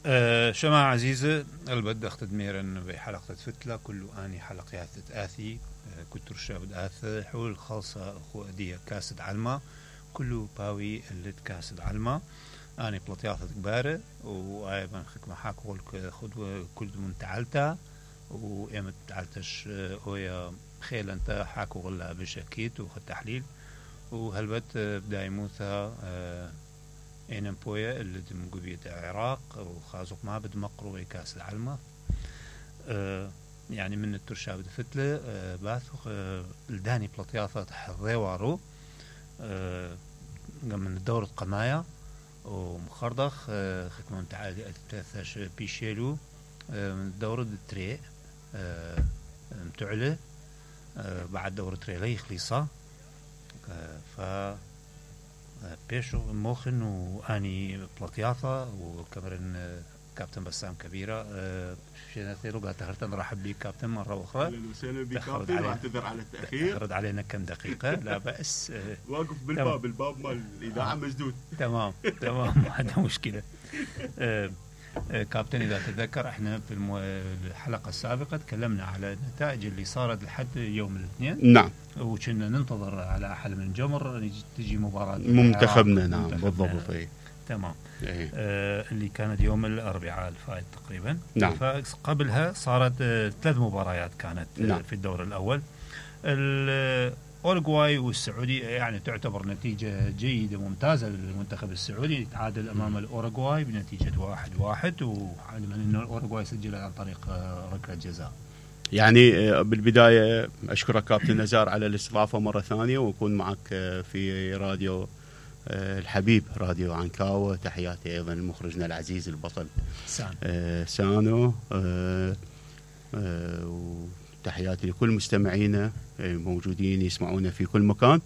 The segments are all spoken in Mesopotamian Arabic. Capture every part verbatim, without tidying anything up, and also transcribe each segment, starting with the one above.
أه شماعة عزيزة البد أخت ميرن بحلقة فتلة كل آني حلقات آثي أه كتر شاب آث حول خاصة أخو أدية كاسد علمة كله باوي اللي كاسد علمة أنا بلطياثة كبارة وأيضا خكمة حاكول خدوة كل من تعالتا وإيمت تعالتش أويا خيل أنت حاكو غلا بشكيت وخد تحليل وهالبت بداي موثا أه إنن بويا اللي دم قبية العراق وخازق ما بد مقرو كاس العلمة أه يعني من الترشا بد فتلة أه باثق أه الداني بلطياثة حضيوارو أه من الدورة قمايا ومخردخ أه خكمة متعادي أتثاش بيشيلو أه من الدورة التري أه متعلة أه بعد دورة تري لي خليصة أه ف بيشو موخن واني بلطياثة وكمرن كابتن بسام كبيرة شينا ثيرو قاعد تخرت نرحب بيك كابتن مرة أخرى أهلا وسهلا بك كابتن واعتذر على التأخير تأخرت علينا كم دقيقة لا بأس واقف بالباب الباب مال الإذاعة مسدود تمام تمام ما عندنا مشكلة كابتن إذا تذكر احنا في المو... الحلقة السابقة تكلمنا على النتائج اللي صارت لحد يوم الاثنين نعم وكنا ننتظر على حل من جمر تجي مباراة منتخبنا نعم بالضبط ايه. تمام ايه. آه اللي كانت يوم الأربعاء الفائت تقريبا نعم. فقبلها صارت آه ثلاث مباريات كانت نعم. آه في الدور الأول الأورغواي والسعودي يعني تعتبر نتيجة جيدة ممتازة للمنتخب السعودي تعادل أمام الأورغواي بنتيجة واحد واحد وعلما أن الأورغواي سجل عن طريق ركلة جزاء. يعني بالبداية أشكرك كابتن نزار على الاستضافة مرة ثانية وأكون معك في راديو الحبيب راديو عنكاوة. تحياتي أيضا لمخرجنا العزيز البطل سان. سانو تحياتي لكل مستمعينا موجودين يسمعونا في كل مكان.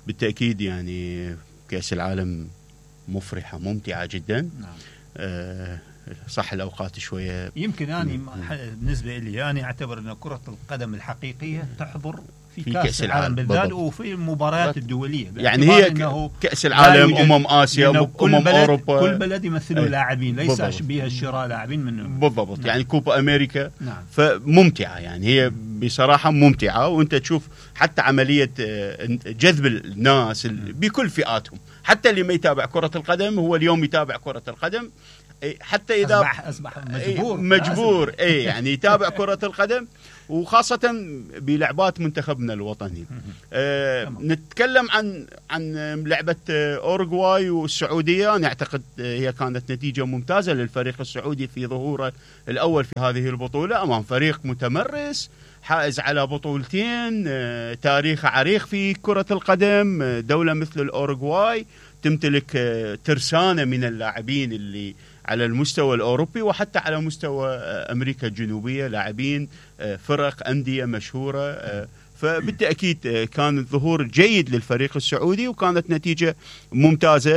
بالتأكيد يعني كأس العالم مفرحة ممتعة جدا. نعم. أه صح الأوقات شوية يمكن أنا بالنسبة لي أنا أعتبر أن كرة القدم الحقيقية تحضر في, في كأس, كأس العالم بالذات وفي المباريات الدولية يعني هي كأس العالم أمم آسيا أمم أوروبا كل بلد يمثلوا لاعبين ليس بها الشراء لاعبين من بالضبط. نعم. يعني كوبا أمريكا. نعم. فممتعة يعني هي بصراحة ممتعة وأنت تشوف حتى عملية جذب الناس بكل فئاتهم حتى اللي ما يتابع كرة القدم هو اليوم يتابع كرة القدم حتى إذا أصبح, أصبح مجبور مجبور أي يعني يتابع كرة القدم وخاصة بلعبات منتخبنا الوطني. آه نتكلم عن عن لعبة أورغواي والسعودية. أنا أعتقد هي كانت نتيجة ممتازة للفريق السعودي في ظهوره الأول في هذه البطولة أمام فريق متمرس حائز على بطولتين. آه تاريخ عريق في كرة القدم. آه دولة مثل الأورغواي تمتلك آه ترسانة من اللاعبين اللي على المستوى الأوروبي وحتى على مستوى أمريكا الجنوبية لاعبين فرق أندية مشهورة. فبالتأكيد كان الظهور جيد للفريق السعودي وكانت نتيجة ممتازة.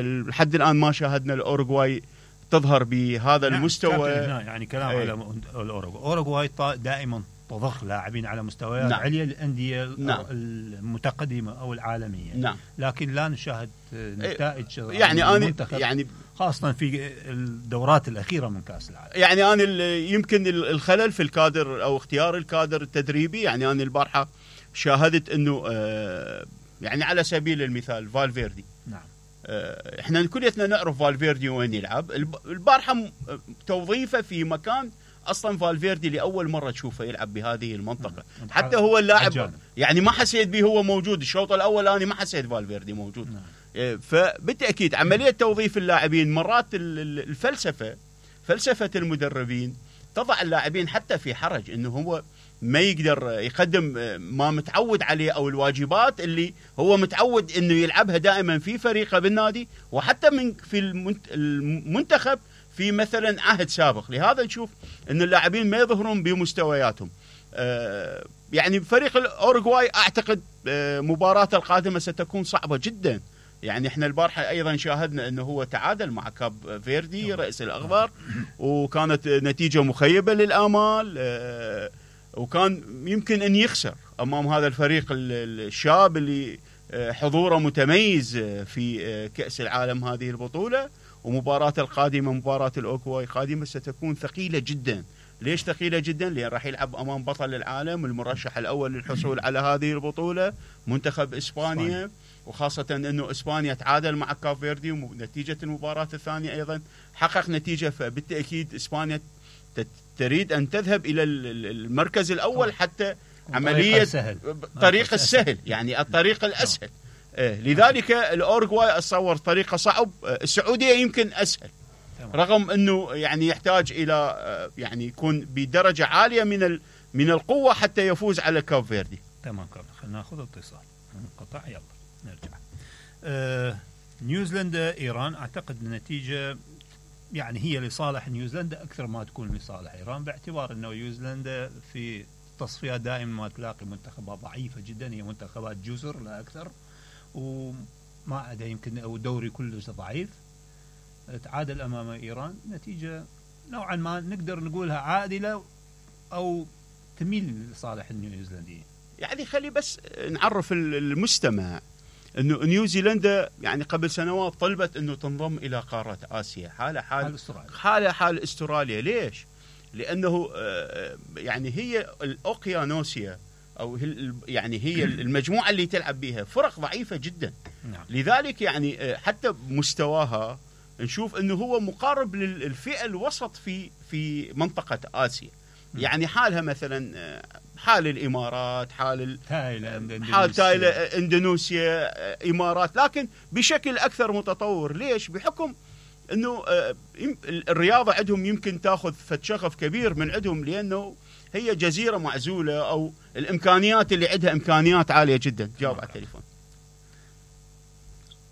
لحد الآن ما شاهدنا الأورغواي تظهر بهذا نعم المستوى. يعني كلام أي. على الأورغواي أورغواي دائما تضخ لاعبين على مستويات نعم. عليا الأندية نعم. المتقدمة أو العالمية. نعم. لكن لا نشاهد نتائج يعني أنا يعني خاصة في الدورات الأخيرة من كأس العالم. يعني أنا يمكن الخلل في الكادر أو اختيار الكادر التدريبي. يعني أنا البارحة شاهدت أنه يعني على سبيل المثال فالفيردي. نعم. إحنا كلنا نعرف فالفيردي وين يلعب. البارحة توظيفه في مكان أصلا فالفيردي لأول مرة تشوفه يلعب بهذه المنطقة. نعم. حتى هو اللاعب عجانب. يعني ما حسيت به هو موجود الشوط الأول أنا ما حسيت فالفيردي موجود. نعم. فبالتأكيد عملية توظيف اللاعبين مرات الفلسفة فلسفة المدربين تضع اللاعبين حتى في حرج انه هو ما يقدر يقدم ما متعود عليه او الواجبات اللي هو متعود انه يلعبها دائما في فريقه بالنادي وحتى من في المنتخب في مثلا عهد سابق. لهذا نشوف ان اللاعبين ما يظهرون بمستوياتهم. يعني فريق الأورغواي اعتقد مباراة القادمة ستكون صعبة جدا. يعني احنا البارحة ايضا شاهدنا انه هو تعادل مع كاب فيردي رئيس الاخضر وكانت نتيجة مخيبة للآمال. وكان يمكن ان يخسر امام هذا الفريق الشاب اللي حضوره متميز في كأس العالم هذه البطولة. ومباراة القادمة مباراة الأوروغواي القادمة ستكون ثقيلة جدا. ليش ثقيلة جدا؟ لأن راح يلعب أمام بطل العالم المرشح الأول للحصول على هذه البطولة منتخب إسبانيا، وخاصة أنه إسبانيا تعادل مع كاب فيردي ونتيجة المباراة الثانية أيضا حقق نتيجة، فبالتأكيد إسبانيا تريد أن تذهب إلى المركز الأول حتى عملية طريق السهل، يعني الطريق الأسهل. لذلك الأوروغواي أتصور طريقة صعب، السعودية يمكن أسهل رغم أنه يعني يحتاج إلى يعني يكون بدرجة عالية من من القوة حتى يفوز على كاب فيردي. تمام كابتن، خلينا ناخذ اتصال انقطع يلا نرجع. آه نيوزيلندا إيران، أعتقد النتيجة يعني هي لصالح نيوزيلندا أكثر ما تكون لصالح إيران، باعتبار أنه نيوزيلندا في تصفيات دائما ما تلاقي منتخبات ضعيفة جدا، هي منتخبات جزر لا أكثر، وما عدا يمكن أو دوري كلش ضعيف. تعادل أمام إيران، نتيجة نوعا ما نقدر نقولها عادلة أو تميل لصالح النيوزيلنديين. يعني خلي بس نعرف المستمع أنه نيوزيلندا يعني قبل سنوات طلبت أنه تنضم إلى قارة آسيا، حالة حال حال استراليا. حالة حال استراليا. ليش؟ لأنه يعني هي الأوقيانوسيا أو يعني هي المجموعة اللي تلعب بها فرق ضعيفة جدا. نعم. لذلك يعني حتى مستواها نشوف أنه هو مقارب للفئة الوسط في في منطقة آسيا. م. يعني حالها مثلا حال الإمارات، حال تايلاند، حال تايلاند، إندونيسيا، إمارات، لكن بشكل أكثر متطور. ليش؟ بحكم أنه الرياضة عندهم يمكن تأخذ شغف كبير من عندهم، لأنه هي جزيرة معزولة أو الإمكانيات اللي عندها إمكانيات عالية جدا. جاوب على التليفون.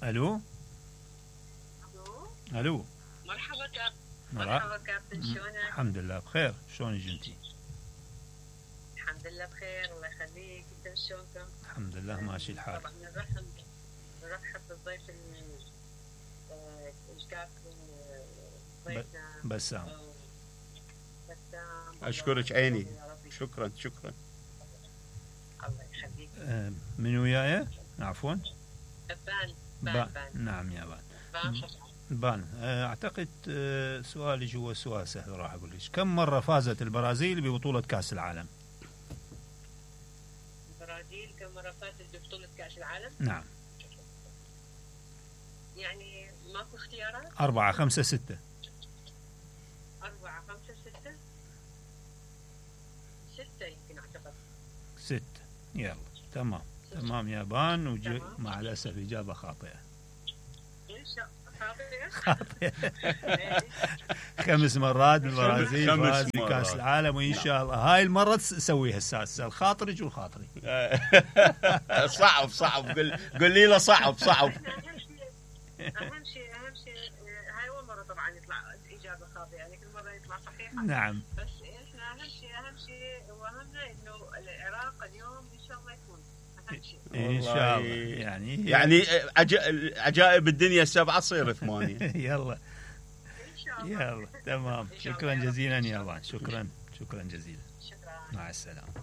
ألو الو مرحبا كابتن. مرحبا كابتن، شلونك؟ الحمد لله بخير، شلونك انتي؟ الحمد لله بخير، الله يخليك. انت شلونكم؟ الحمد لله ماشي الحال. طبعا نرحب نرحب بالضيف الكابتن ضيفنا بسام. بسام اشكرك عيني، شكرا شكرا. الله يخليك. من وياي؟ عفوا بان بان. نعم يا بان. بان بان. اعتقد سؤالي جوا سؤال سهل راح اقول لك، كم مره فازت البرازيل ببطوله كاس العالم؟ البرازيل كم مره فازت ببطوله كاس العالم؟ نعم. يعني ماكو اختيارات؟ أربعة خمسة ستة. أربعة خمسة ستة. ستة يمكن أعتقد. ستة. يلا تمام. ستة. تمام يا بان، وج... مع الأسف إجابة خاطئة. إيش خاطئة؟ خاطئة. خمس مرات البرازيل فاز بكأس العالم، وإن شاء الله هاي المرة تسويها السادسة. الخاطرج والخاطري. صعب صعب قل قل لي له صعب صعب. أهم شيء أهم شيء هاي أول مرة طبعا يطلع إجابة خاطئة، يعني كل مرة يطلع صحيحة. نعم. بس إحنا أهم شيء أهم شيء وأهمنا إنه العراق اليوم إن شاء الله يكون أهم شيء. إن شاء الله. يعني يعني عجائب الدنيا السبعة تصير ثمانية. يلا. إن شاء الله. يلا تمام. شكرا جزيلا يا بان، شكرا شكرا جزيلا. شكرا. مع السلامة.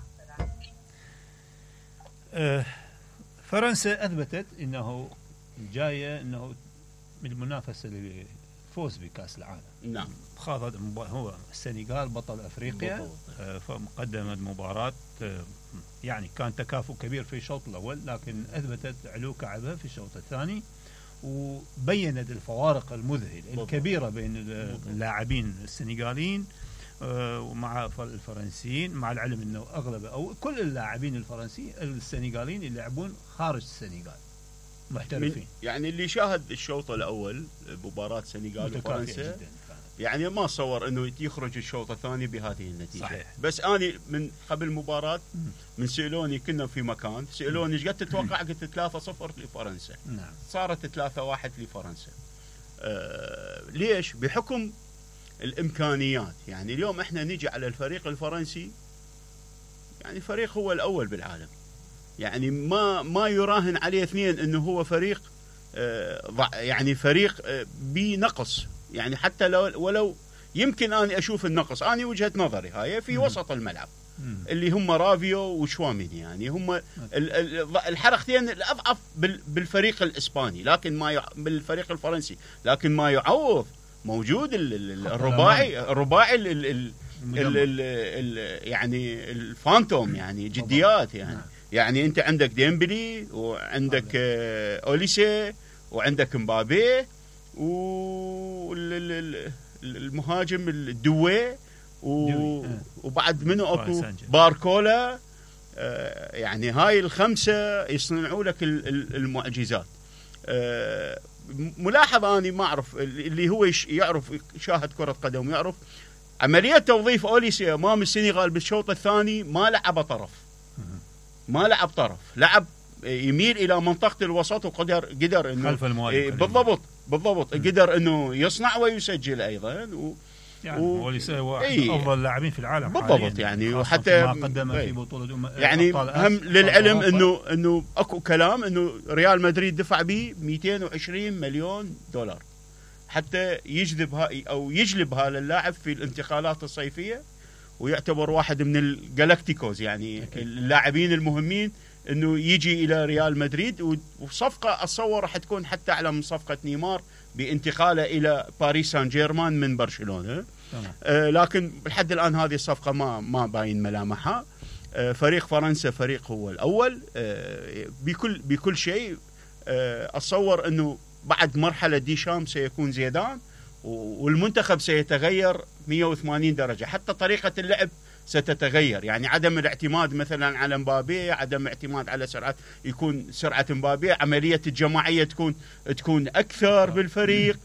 أه فرنسا أثبتت إنه جاية انه من المنافسه للفوز بكاس العالم. نعم. خاضت هو السنغال بطل افريقيا، فقدمت مباراه يعني كان تكافؤ كبير في الشوط الاول، لكن اثبتت علو كعبها في الشوط الثاني، وبينت الفوارق المذهله الكبيره بين اللاعبين السنغاليين ومع الفرنسيين، مع العلم انه اغلب او كل اللاعبين الفرنسيين السنغاليين يلعبون خارج السنغال محترفين. يعني اللي شاهد الشوط الاول مباراه السنغال وفرنسا يعني ما صور انه يخرج الشوط الثاني بهذه النتيجه. صحيح. بس اني من قبل المباراه من سالوني كنا في مكان سالوني ايش قد تتوقع؟ قلت ثلاثة صفر لفرنسا. نعم. صارت ثلاثة واحد لفرنسا. آه ليش؟ بحكم الامكانيات. يعني اليوم احنا نيجي على الفريق الفرنسي، يعني فريق هو الاول بالعالم، يعني ما ما يراهن عليه اثنين انه هو فريق آه يعني فريق آه بنقص. يعني حتى لو ولو يمكن اني اشوف النقص، اني وجهة نظري هاي في وسط الملعب اللي هم رافيو وشواميني، يعني هم الحركتين الاضعف بالفريق الاسباني، لكن ما بالفريق الفرنسي، لكن ما يعوض موجود الرباعي الرباعي ال ال ال ال ال يعني الفانتوم، يعني جديات يعني نعم. يعني انت عندك ديمبلي وعندك اوليسي وعندك مبابي والمهاجم الدوي وبعد منه اكو باركولا، يعني هاي الخمسه يصنعوا لك المعجزات. ملاحظه اني ما اعرف اللي هو يعرف يشاهد كره قدم يعرف عمليه توظيف اوليسي امام السنغال بالشوط الثاني، ما لعب طرف ما لعب طرف لعب يميل الى منطقه الوسط، وقدر قدر انه خلف المهاجم بالضبط بالضبط م. قدر انه يصنع ويسجل ايضا و يعني و... اوليسي واحد ايه افضل اللاعبين في العالم بالضبط يعني وحتى ما قدم في بطوله أم... يعني هم للعلم انه انه اكو كلام انه ريال مدريد دفع به مئتين وعشرين مليون دولار حتى يجذب هاي او يجلب هذا اللاعب في الانتقالات الصيفيه، ويعتبر واحد من الجالاكتيكوز يعني اللاعبين المهمين انه يجي الى ريال مدريد. وصفقه اتصور راح تكون حتى اعلى من صفقه نيمار بانتقاله الى باريس سان جيرمان من برشلونه. آه لكن لحد الان هذه الصفقه ما ما باين ملامحها. آه فريق فرنسا فريق هو الاول آه بكل بكل شيء. آه اتصور انه بعد مرحله ديشام سيكون زيدان، والمنتخب سيتغير مئة وثمانين درجه، حتى طريقه اللعب ستتغير، يعني عدم الاعتماد مثلا على مبابي، عدم الاعتماد على سرعه يكون سرعه مبابي، عمليه الجماعيه تكون تكون اكثر بالفريق،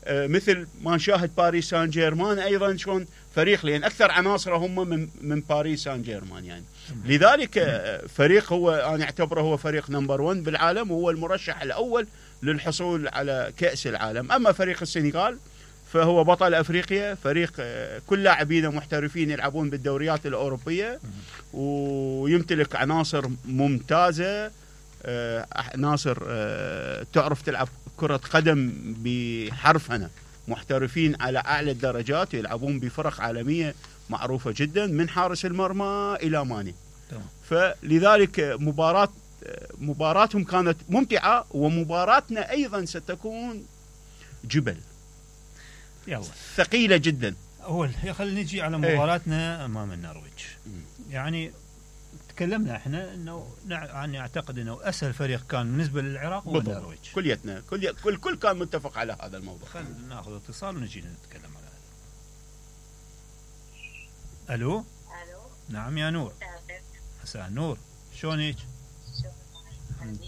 آه مثل ما نشاهد باريس سان جيرمان ايضا شلون فريق، لان اكثر عناصره هم من من باريس سان جيرمان يعني. لذلك آه فريق هو انا اعتبره هو فريق نمبر واحد بالعالم، وهو المرشح الاول للحصول على كأس العالم. اما فريق السنغال فهو بطل أفريقيا، فريق كل لاعبينه محترفين يلعبون بالدوريات الأوروبية، ويمتلك عناصر ممتازة، عناصر تعرف تلعب كرة قدم بحرفنة، محترفين على أعلى الدرجات، يلعبون بفرق عالمية معروفة جدا من حارس المرمى إلى ماني. فلذلك مباراة مباراتهم كانت ممتعة، ومباراتنا أيضا ستكون جبل يلا ثقيلة جدا. أول خلينا نجي على مباراتنا أمام النرويج. يعني تكلمنا احنا انه يعني اعتقد انه اسهل فريق كان بالنسبه للعراق هو النرويج. كليتنا كل كل كل كان متفق على هذا الموضوع. خلينا ناخذ اتصال ونجي نتكلم على هذا. الو الو نعم يا نور. مساء النور، شلونك؟ الحمد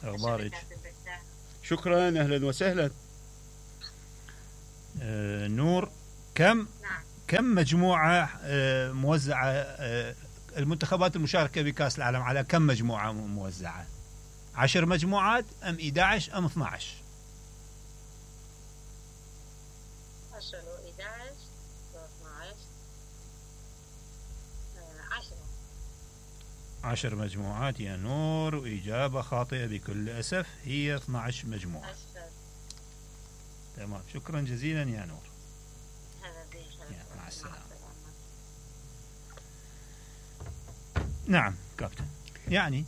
لله. اخبارك؟ شكرا، اهلا وسهلا. آه نور، كم نعم. كم مجموعة آه موزعة آه المنتخبات المشاركة بكأس العالم على كم مجموعة موزعة؟ عشر مجموعات أم إحدى عشر أم اثني عشر؟ عشر وإحدى عشر واثني عشر. عشر. عشر مجموعات يا نور، وإجابة خاطئة بكل أسف، هي اثني عشر مجموعة. عشر. تمام، شكرا جزيلا يا نور. يا مع السلامة. نعم كابتن، يعني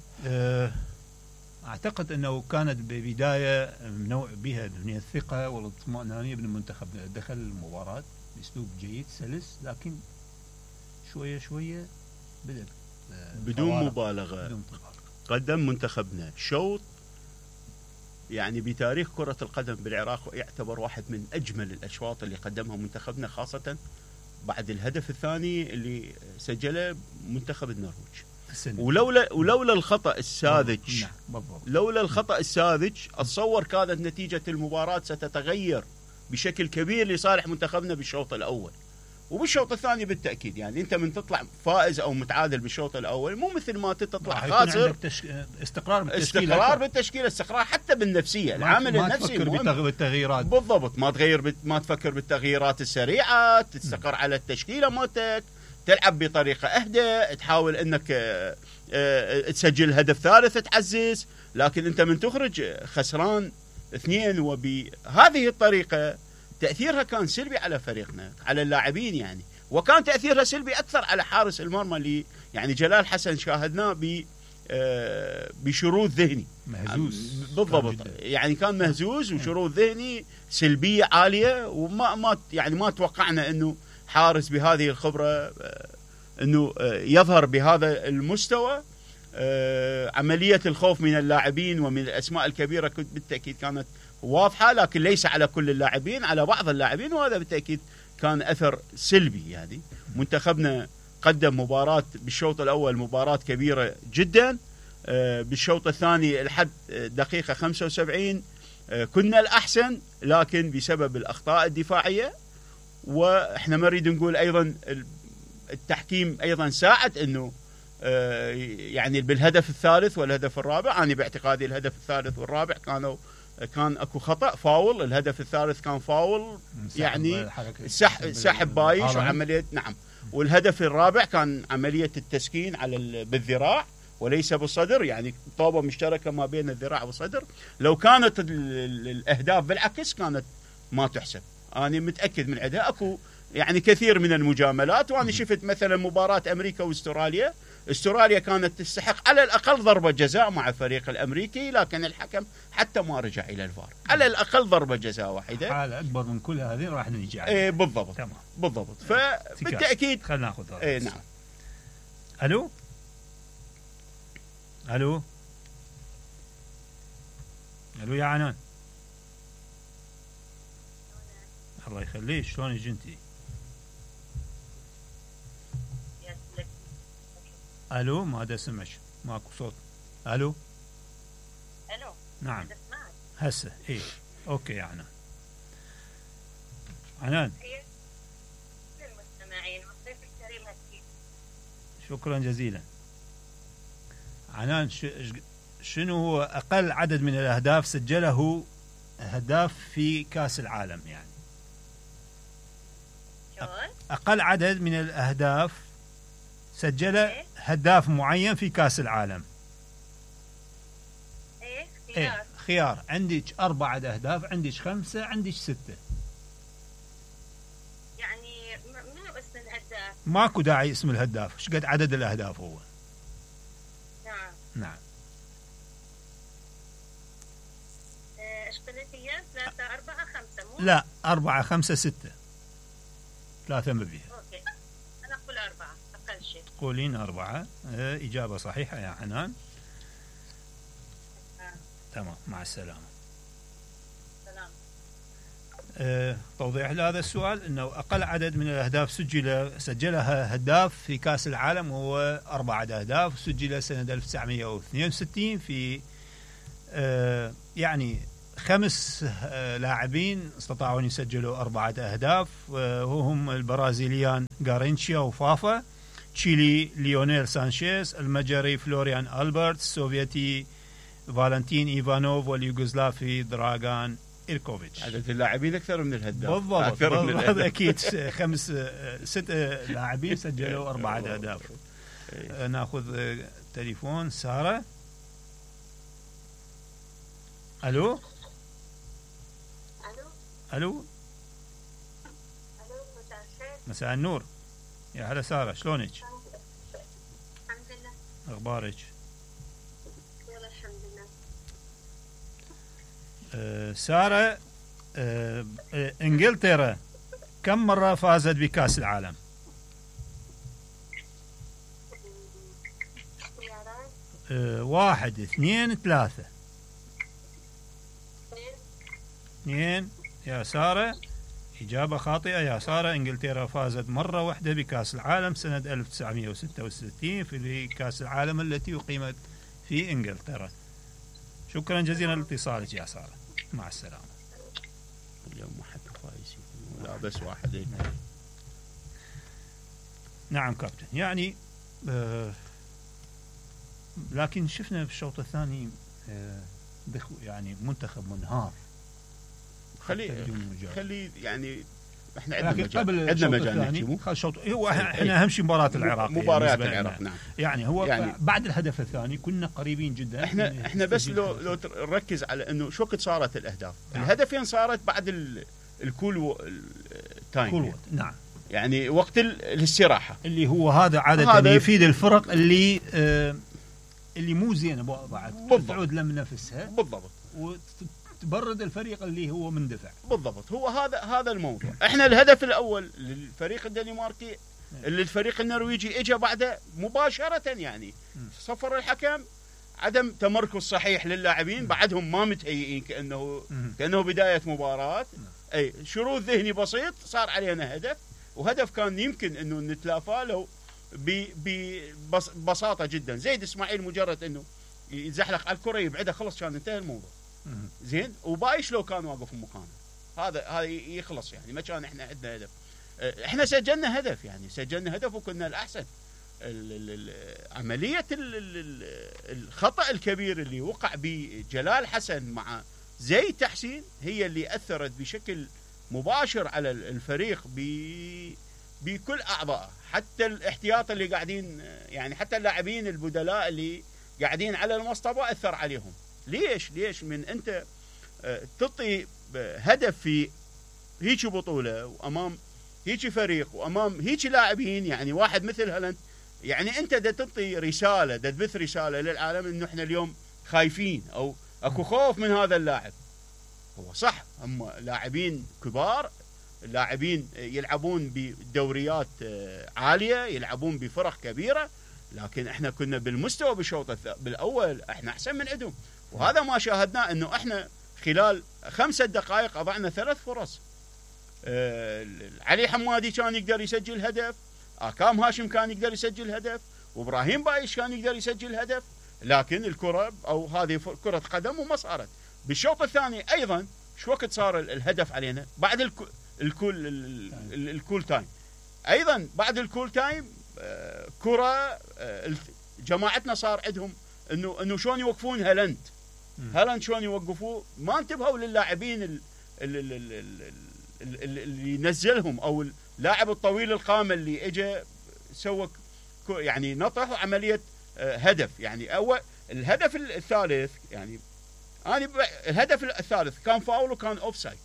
أعتقد أنه كانت ببداية نوع بها من الثقة والاطمئنانية بالمنتخب، دخل المباراة بأسلوب جيد سلس، لكن شوية شوية بدأ بدون مبالغة. بدون قدم منتخبنا شوط يعني بتاريخ كرة القدم بالعراق يعتبر واحد من أجمل الأشواط اللي قدمها منتخبنا، خاصة بعد الهدف الثاني اللي سجله منتخب النرويج. ولولا ولولا الخطأ الساذج لولا الخطأ الساذج أتصور كانت نتيجة المباراة ستتغير بشكل كبير لصالح منتخبنا بالشوط الأول وبالشوط الثاني بالتأكيد. يعني أنت من تطلع فائز أو متعادل بالشوط الأول مو مثل ما تطلع خاسر. تشك... استقرار بالتشكيل، استقرار بالتشكيل، استقرار حتى بالنفسية، العامل النفسي مهم. بالتغييرات بالضبط، ما تغير بت... ما تفكر بالتغييرات السريعة، تستقر م. على التشكيلة مالتك، تلعب بطريقة أهدى، تحاول أنك أه أه تسجل هدف ثالث تعزز، لكن أنت من تخرج خسران اثنين وبهذه الطريقة تأثيرها كان سلبي على فريقنا، على اللاعبين يعني. وكان تاثيرها سلبي اكثر على حارس المرمى اللي يعني جلال حسن شاهدناه ب بشروذ ذهني مهزوز بالضبط، يعني كان مهزوز وشروذ ذهني سلبيه عاليه، وما ما يعني ما توقعنا انه حارس بهذه الخبره انه يظهر بهذا المستوى. عمليه الخوف من اللاعبين ومن الاسماء الكبيره بالتاكيد كانت واضحه، لكن ليس على كل اللاعبين، على بعض اللاعبين، وهذا بالتاكيد كان اثر سلبي. يعني منتخبنا قدم مباراة بالشوط الأول مباراة كبيرة جدا، بالشوط الثاني لحد دقيقة خمسة وسبعين كنا الأحسن، لكن بسبب الأخطاء الدفاعية، وإحنا ما نريد نقول أيضا التحكيم أيضا ساعد أنه يعني بالهدف الثالث والهدف الرابع. أنا باعتقادي الهدف الثالث والرابع كانوا كان اكو خطأ فاول، الهدف الثالث كان فاول يعني سحب سحب بايش وعملية نعم، والهدف الرابع كان عملية التسكين على بالذراع وليس بالصدر، يعني طوبة مشتركة ما بين الذراع والصدر. لو كانت الأهداف بالعكس كانت ما تحسب. أنا متأكد من عندها أكو يعني كثير من المجاملات، وأنا شفت مثلا مباراة أمريكا واستراليا، استراليا كانت تستحق على الأقل ضربة جزاء مع الفريق الأمريكي، لكن الحكم حتى ما رجع إلى الفار، على الأقل ضربة جزاء واحدة. حالة أكبر من كل هذه راح نجي عليها. إيه بالضبط تمام بالضبط. فبالتأكيد خلينا ناخذ هذا. إيه نعم. ألو ألو ألو يا عنان، الله يخليك، شلونك انتي؟ الو ما دا سمعش، ماكو صوت. الو الو نعم هسه ايه اوكي يا عنان. عنان شكرا جزيلا. عنان شنو هو اقل عدد من الاهداف سجله هداف في كاس العالم؟ يعني اقل عدد من الاهداف سجل هداف معين في كاس العالم. ايه خيار. إيه خيار، عندك أربعة أهداف، عندك خمسة، عندك ستة. يعني منو اسم الهداف؟ ماكو داعي اسم الهداف، ايش قد عدد الأهداف هو؟ نعم نعم. ايش قلت هي؟ ثلاثة أربعة خمسة مو؟ لا أربعة خمسة ستة. ثلاثة ما بيها. اوكي أنا أقول أربعة أقل شيء. قولين أربعة. اه إجابة صحيحة يا حنان. آه. تمام مع السلامة. سلام. اه توضيح لهذا السؤال أنه أقل عدد من الأهداف سجل سجلها هداف في كأس العالم هو أربعة أهداف، سجل سنة ألف وتسعمئة واثنين وستين في اه يعني خمس لاعبين استطاعوا أن يسجلوا أربعة أهداف، وهم البرازيليان غارينشيا وفافا، تشيلي ليونيل سانشيز، المجري فلوريان ألبرت، السوفيتي فالنتين إيفانوف، واليوغوسلافي دراغان إيركوفيتش. عدد اللاعبين أكثر من الهداف. بالضبط, أكثر من الهداف. أكيد خمس ست لاعبين سجلوا أربعة أهداف. نأخذ تليفون سارة. ألو الو مساء النور، يا هلا ساره، شلونك؟ الحمد لله. اخبارك؟ والله الحمد لله. أه ساره، أه انجلترا كم مره فازت بكاس العالم؟ أه واحد اثنين ثلاثه. اثنين يا سارة، إجابة خاطئة يا سارة. إنجلترا فازت مرة واحدة بكأس العالم سنة ألف وتسعمئة وستة وستين في كأس العالم التي أقيمت في إنجلترا. شكرا جزيلا لاتصالك يا سارة، مع السلامة. اليوم ما حد فايز لا بس واحد. نعم كابتن، يعني آه لكن شفنا في الشوط الثاني آه يعني منتخب منهار. خلي خلي يعني احنا عندنا مجال عندنا مجال نحكي خل شوط هو احنا اهم شيء مباراه العراق، مباريات العراق نعم. يعني هو يعني بعد الهدف الثاني كنا قريبين جدا. احنا احنا بس لو لو نركز على انه شو وقت صارت الاهداف. نعم. الهدفين صارت بعد الكول تايم كول نعم. يعني وقت الاستراحه اللي هو هذا عاده هذا يفيد الفرق اللي آه اللي مو زينه بعد تعود لم نفسها بالضبط وتبرد الفريق اللي هو مندفع بالضبط. هو هذا هذا الموضوع. احنا الهدف الاول للفريق الدنماركي اللي الفريق النرويجي اجى بعده مباشره، يعني صفر الحكم، عدم تمركز صحيح للاعبين، بعدهم ما متهيئين كانه كانه بدايه مباراه، اي شروط ذهني بسيط صار علينا هدف، وهدف كان يمكن انه نتلافاه لو ببساطه جدا. زيد اسماعيل مجرد انه يزحلق على الكره يبعدها خلص كان انتهى الموضوع. زين، وبايش لو كان واقف في مكانه هذا هذا يخلص، يعني ما كان احنا عندنا هدف. احنا سجلنا هدف، يعني سجلنا هدف وكنا الاحسن. عمليه الخطا الكبير اللي وقع بجلال حسن مع زيد تحسين هي اللي اثرت بشكل مباشر على الفريق بكل اعضائه، حتى الاحتياط اللي قاعدين، يعني حتى اللاعبين البدلاء اللي قاعدين على المصطبه اثر عليهم. ليش ليش من انت تعطي هدف في هيك بطوله وامام هيك فريق وامام هيك لاعبين، يعني واحد مثل هالاند، يعني انت دا تعطي رساله، دا تبث رساله للعالم انه احنا اليوم خايفين او اكو خوف من هذا اللاعب. هو صح هم لاعبين كبار، لاعبين يلعبون بدوريات عاليه، يلعبون بفرق كبيره، لكن احنا كنا بالمستوى بالشوط بالاول احنا احسن من عندهم. وهذا ما شاهدناه، انه احنا خلال خمسة دقائق اضعنا ثلاث فرص. آه علي حمادي كان يقدر يسجل هدف، آكام هاشم كان يقدر يسجل هدف، وابراهيم بايش كان يقدر يسجل هدف، لكن الكره او هذه كره قدم وما صارت. بالشوط الثاني ايضا شو وقت صار الهدف علينا؟ بعد الكل الكول الكول تايم، ايضا بعد الكول تايم آه كره آه جماعتنا صار عندهم انه انه شلون يوقفون هالاند هالاند شلون يوقفوه، ما انتبهوا للاعبين اللي نزلهم او اللاعب الطويل القامه اللي اجى سوى يعني نطح وعمليه هدف. يعني اول الهدف الثالث، يعني انا الهدف الثالث كان فاول وكان اوف سايد،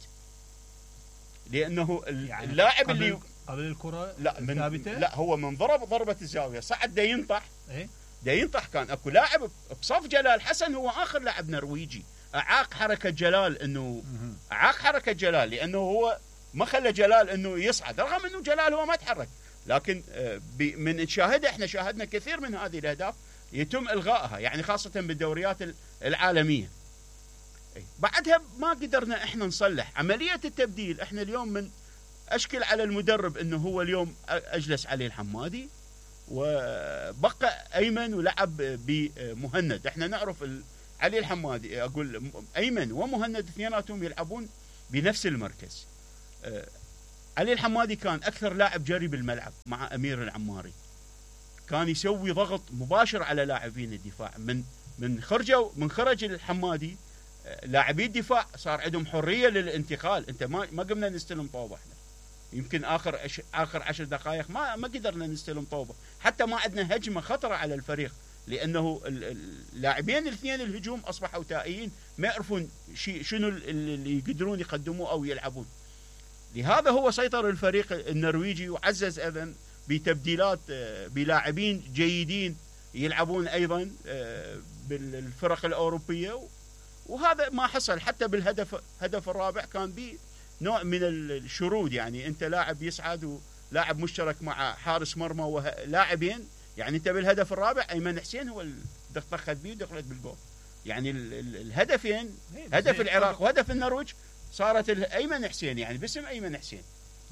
لانه يعني اللاعب اللي قبل الكره لا من لا هو من ضرب ضربه الزاويه صعد دا ينطح ايه دا ينطح. كان اكو لاعب بصف جلال حسن هو اخر لاعب نرويجي اعاق حركه جلال، انه اعاق حركه جلال لانه هو ما خلى جلال انه يصعد، رغم انه جلال هو ما تحرك. لكن من نشاهده احنا شاهدنا كثير من هذه الاهداف يتم الغائها، يعني خاصه بالدوريات العالميه. بعدها ما قدرنا احنا نصلح عمليه التبديل. احنا اليوم من اشكل على المدرب انه هو اليوم اجلس علي الحمادي وبقى ايمن ولعب بمهند. احنا نعرف علي الحمادي، اقول ايمن ومهند اثنيناتهم يلعبون بنفس المركز. علي الحمادي كان اكثر لاعب جري بالملعب مع امير العماري، كان يسوي ضغط مباشر على لاعبين الدفاع. من من خرجوا من خرج الحمادي لاعبي الدفاع صار عندهم حريه للانتقال. انت ما ما قمنا نستلم طوبه، احنا يمكن اخر أش... اخر عشر دقائق ما ما قدرنا نستلم طوبه، حتى ما عندنا هجمه خطره على الفريق، لانه اللاعبين الاثنين الهجوم اصبحوا تائيين، ما يعرفون شيء شنو اللي يقدرون يقدموه او يلعبون. لهذا هو سيطر الفريق النرويجي وعزز ايضا بتبديلات بلاعبين جيدين يلعبون ايضا بالفرق الاوروبيه، وهذا ما حصل. حتى بالهدف هدف الرابع كان به نوع من الشرود، يعني انت لاعب يصعد ولاعب مشترك مع حارس مرمى ولاعبين، يعني انت بالهدف الرابع ايمن حسين هو اللي دخلت بيه ودخلت بالجول. يعني الهدفين هدف العراق وهدف النرويج صارت ايمن حسين، يعني باسم ايمن حسين.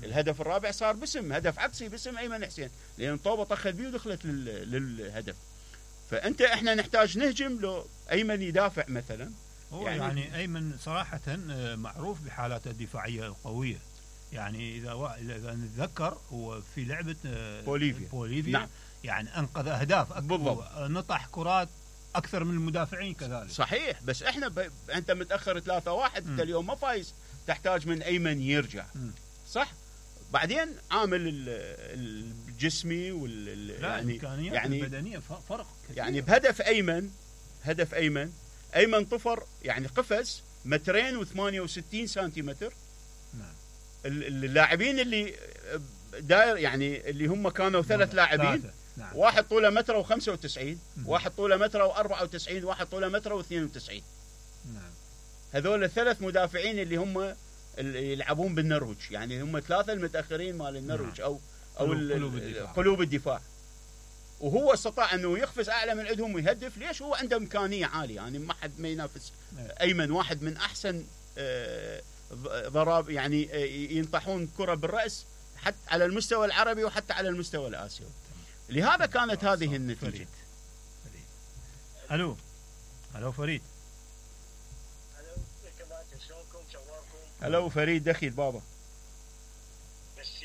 الهدف الرابع صار باسم هدف عكسي باسم ايمن حسين، لان طوبه طخت بيه ودخلت للهدف. فانت احنا نحتاج نهجم لو ايمن يدافع مثلا. هو يعني, يعني ايمن صراحه معروف بحالاته الدفاعيه القويه، يعني اذا اذا نتذكر هو في لعبه بوليفيا, بوليفيا نعم. يعني انقذ اهداف بالضبط، نطح كرات اكثر من المدافعين كذلك. صحيح، بس احنا ب... انت متاخر ثلاثة واحد، انت اليوم ما فايز، تحتاج من ايمن يرجع. م. صح. بعدين عامل الجسمي وال يعني يعني البدنيه فرق كثير. يعني بهدف ايمن هدف ايمن ايمن طفر، يعني قفز مترين وثمانية وستين سنتيمتر. نعم. اللاعبين اللي داير يعني اللي هم كانوا ثلاث لاعبين. نعم. واحد طوله متر وخمسة وتسعين، واحد طوله متر وأربعة وتسعين، واحد طوله متر واثنين وتسعين. نعم. هذول الثلاث مدافعين اللي هم اللي يلعبون بالنرويج، يعني هم ثلاثه المتاخرين مال النرويج او او قلوب الدفاع. قلوب الدفاع. وهو استطاع انه يقفز اعلى من عندهم ويهدف. ليش؟ هو عنده امكانيه عاليه، يعني ما حد ما ينافس. ايمن واحد من احسن ضرب، يعني ينطحون كره بالراس حتى على المستوى العربي وحتى على المستوى الاسيوي. لهذا كانت هذه النتيجه. فريد. فريد. الو الو فريد. الو فريد دخيل بابا.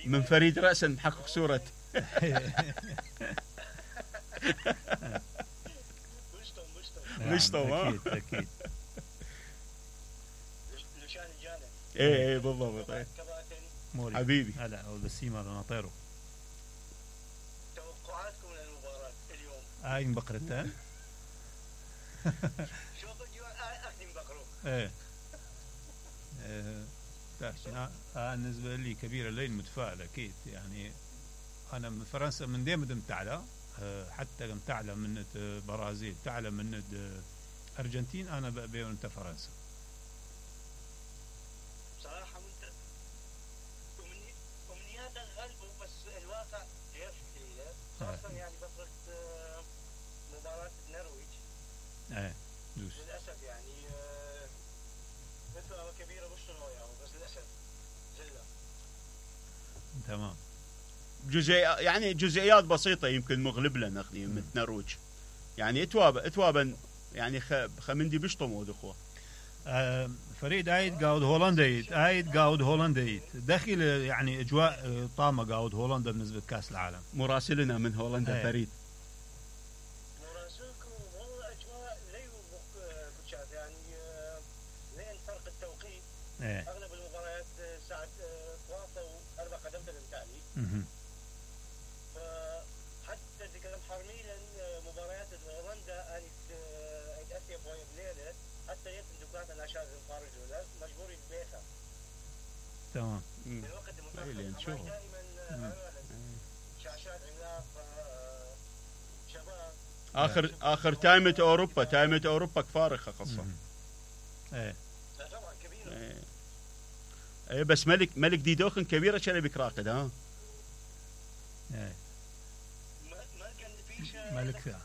من فريد راسا محقق صوره. مشطو اكيد اكيد. ايه ايه بالضبط. ايه حبيبي. هلا والبسيمه هذا ناطيره. توقعاتكم للمباراه اليوم؟ هاي مبقرتها. شوف اخذ مبقرو. ايه انا بالنسبه لي كبيره لين متفائل اكيد. يعني انا من فرنسا من ديما دمت اعلى، حتى قمت اعلى من برازيل، تعلى من ارجنتين، انا بقبل انت فرنسا. بصراحه انت امنياتك غلبوا، بس الواقع غير شكليه. خاصه يعني فتره مباراه النرويج. ايه دوس. للاسف يعني مثل كبيره بشتغلوا يعني، بس للاسف زله. تمام. جزئي يعني جزئيات بسيطه يمكن مغلب لنا اخني من النرويج. يعني اتوابا اتوابا يعني خمندي بيشطموا اخوه. آه فريد عيد قاود هولندا عيد قاود هولندا داخل يعني اجواء طامه قاود هولندا بالنسبه لكاس العالم. مراسلنا من هولندا ايه. فريد. مراسلكم والله اجواء لي كوتشات يعني لين فرق التوقيت. ايه. اغلب المباريات ساعه ثلاثة واربع قدم بالتالي. اها. فحتى ذكر حرميلا مباريات هولندا انت اسيا بوي بليله حتى يمكن دكات الاشياء الخارج ولا مجبورين بيتها. تمام. الوقت المتاخر دائما شاشات عملاق شباب. اخر اخر تايمة اوروبا تايمة اوروبا فارقه خاصه. ايه طبعا كبيره. ايه. ايه بس ملك ملك ديدوخن كبيره شلبك راقد ها. ايه ملك ملك فيها.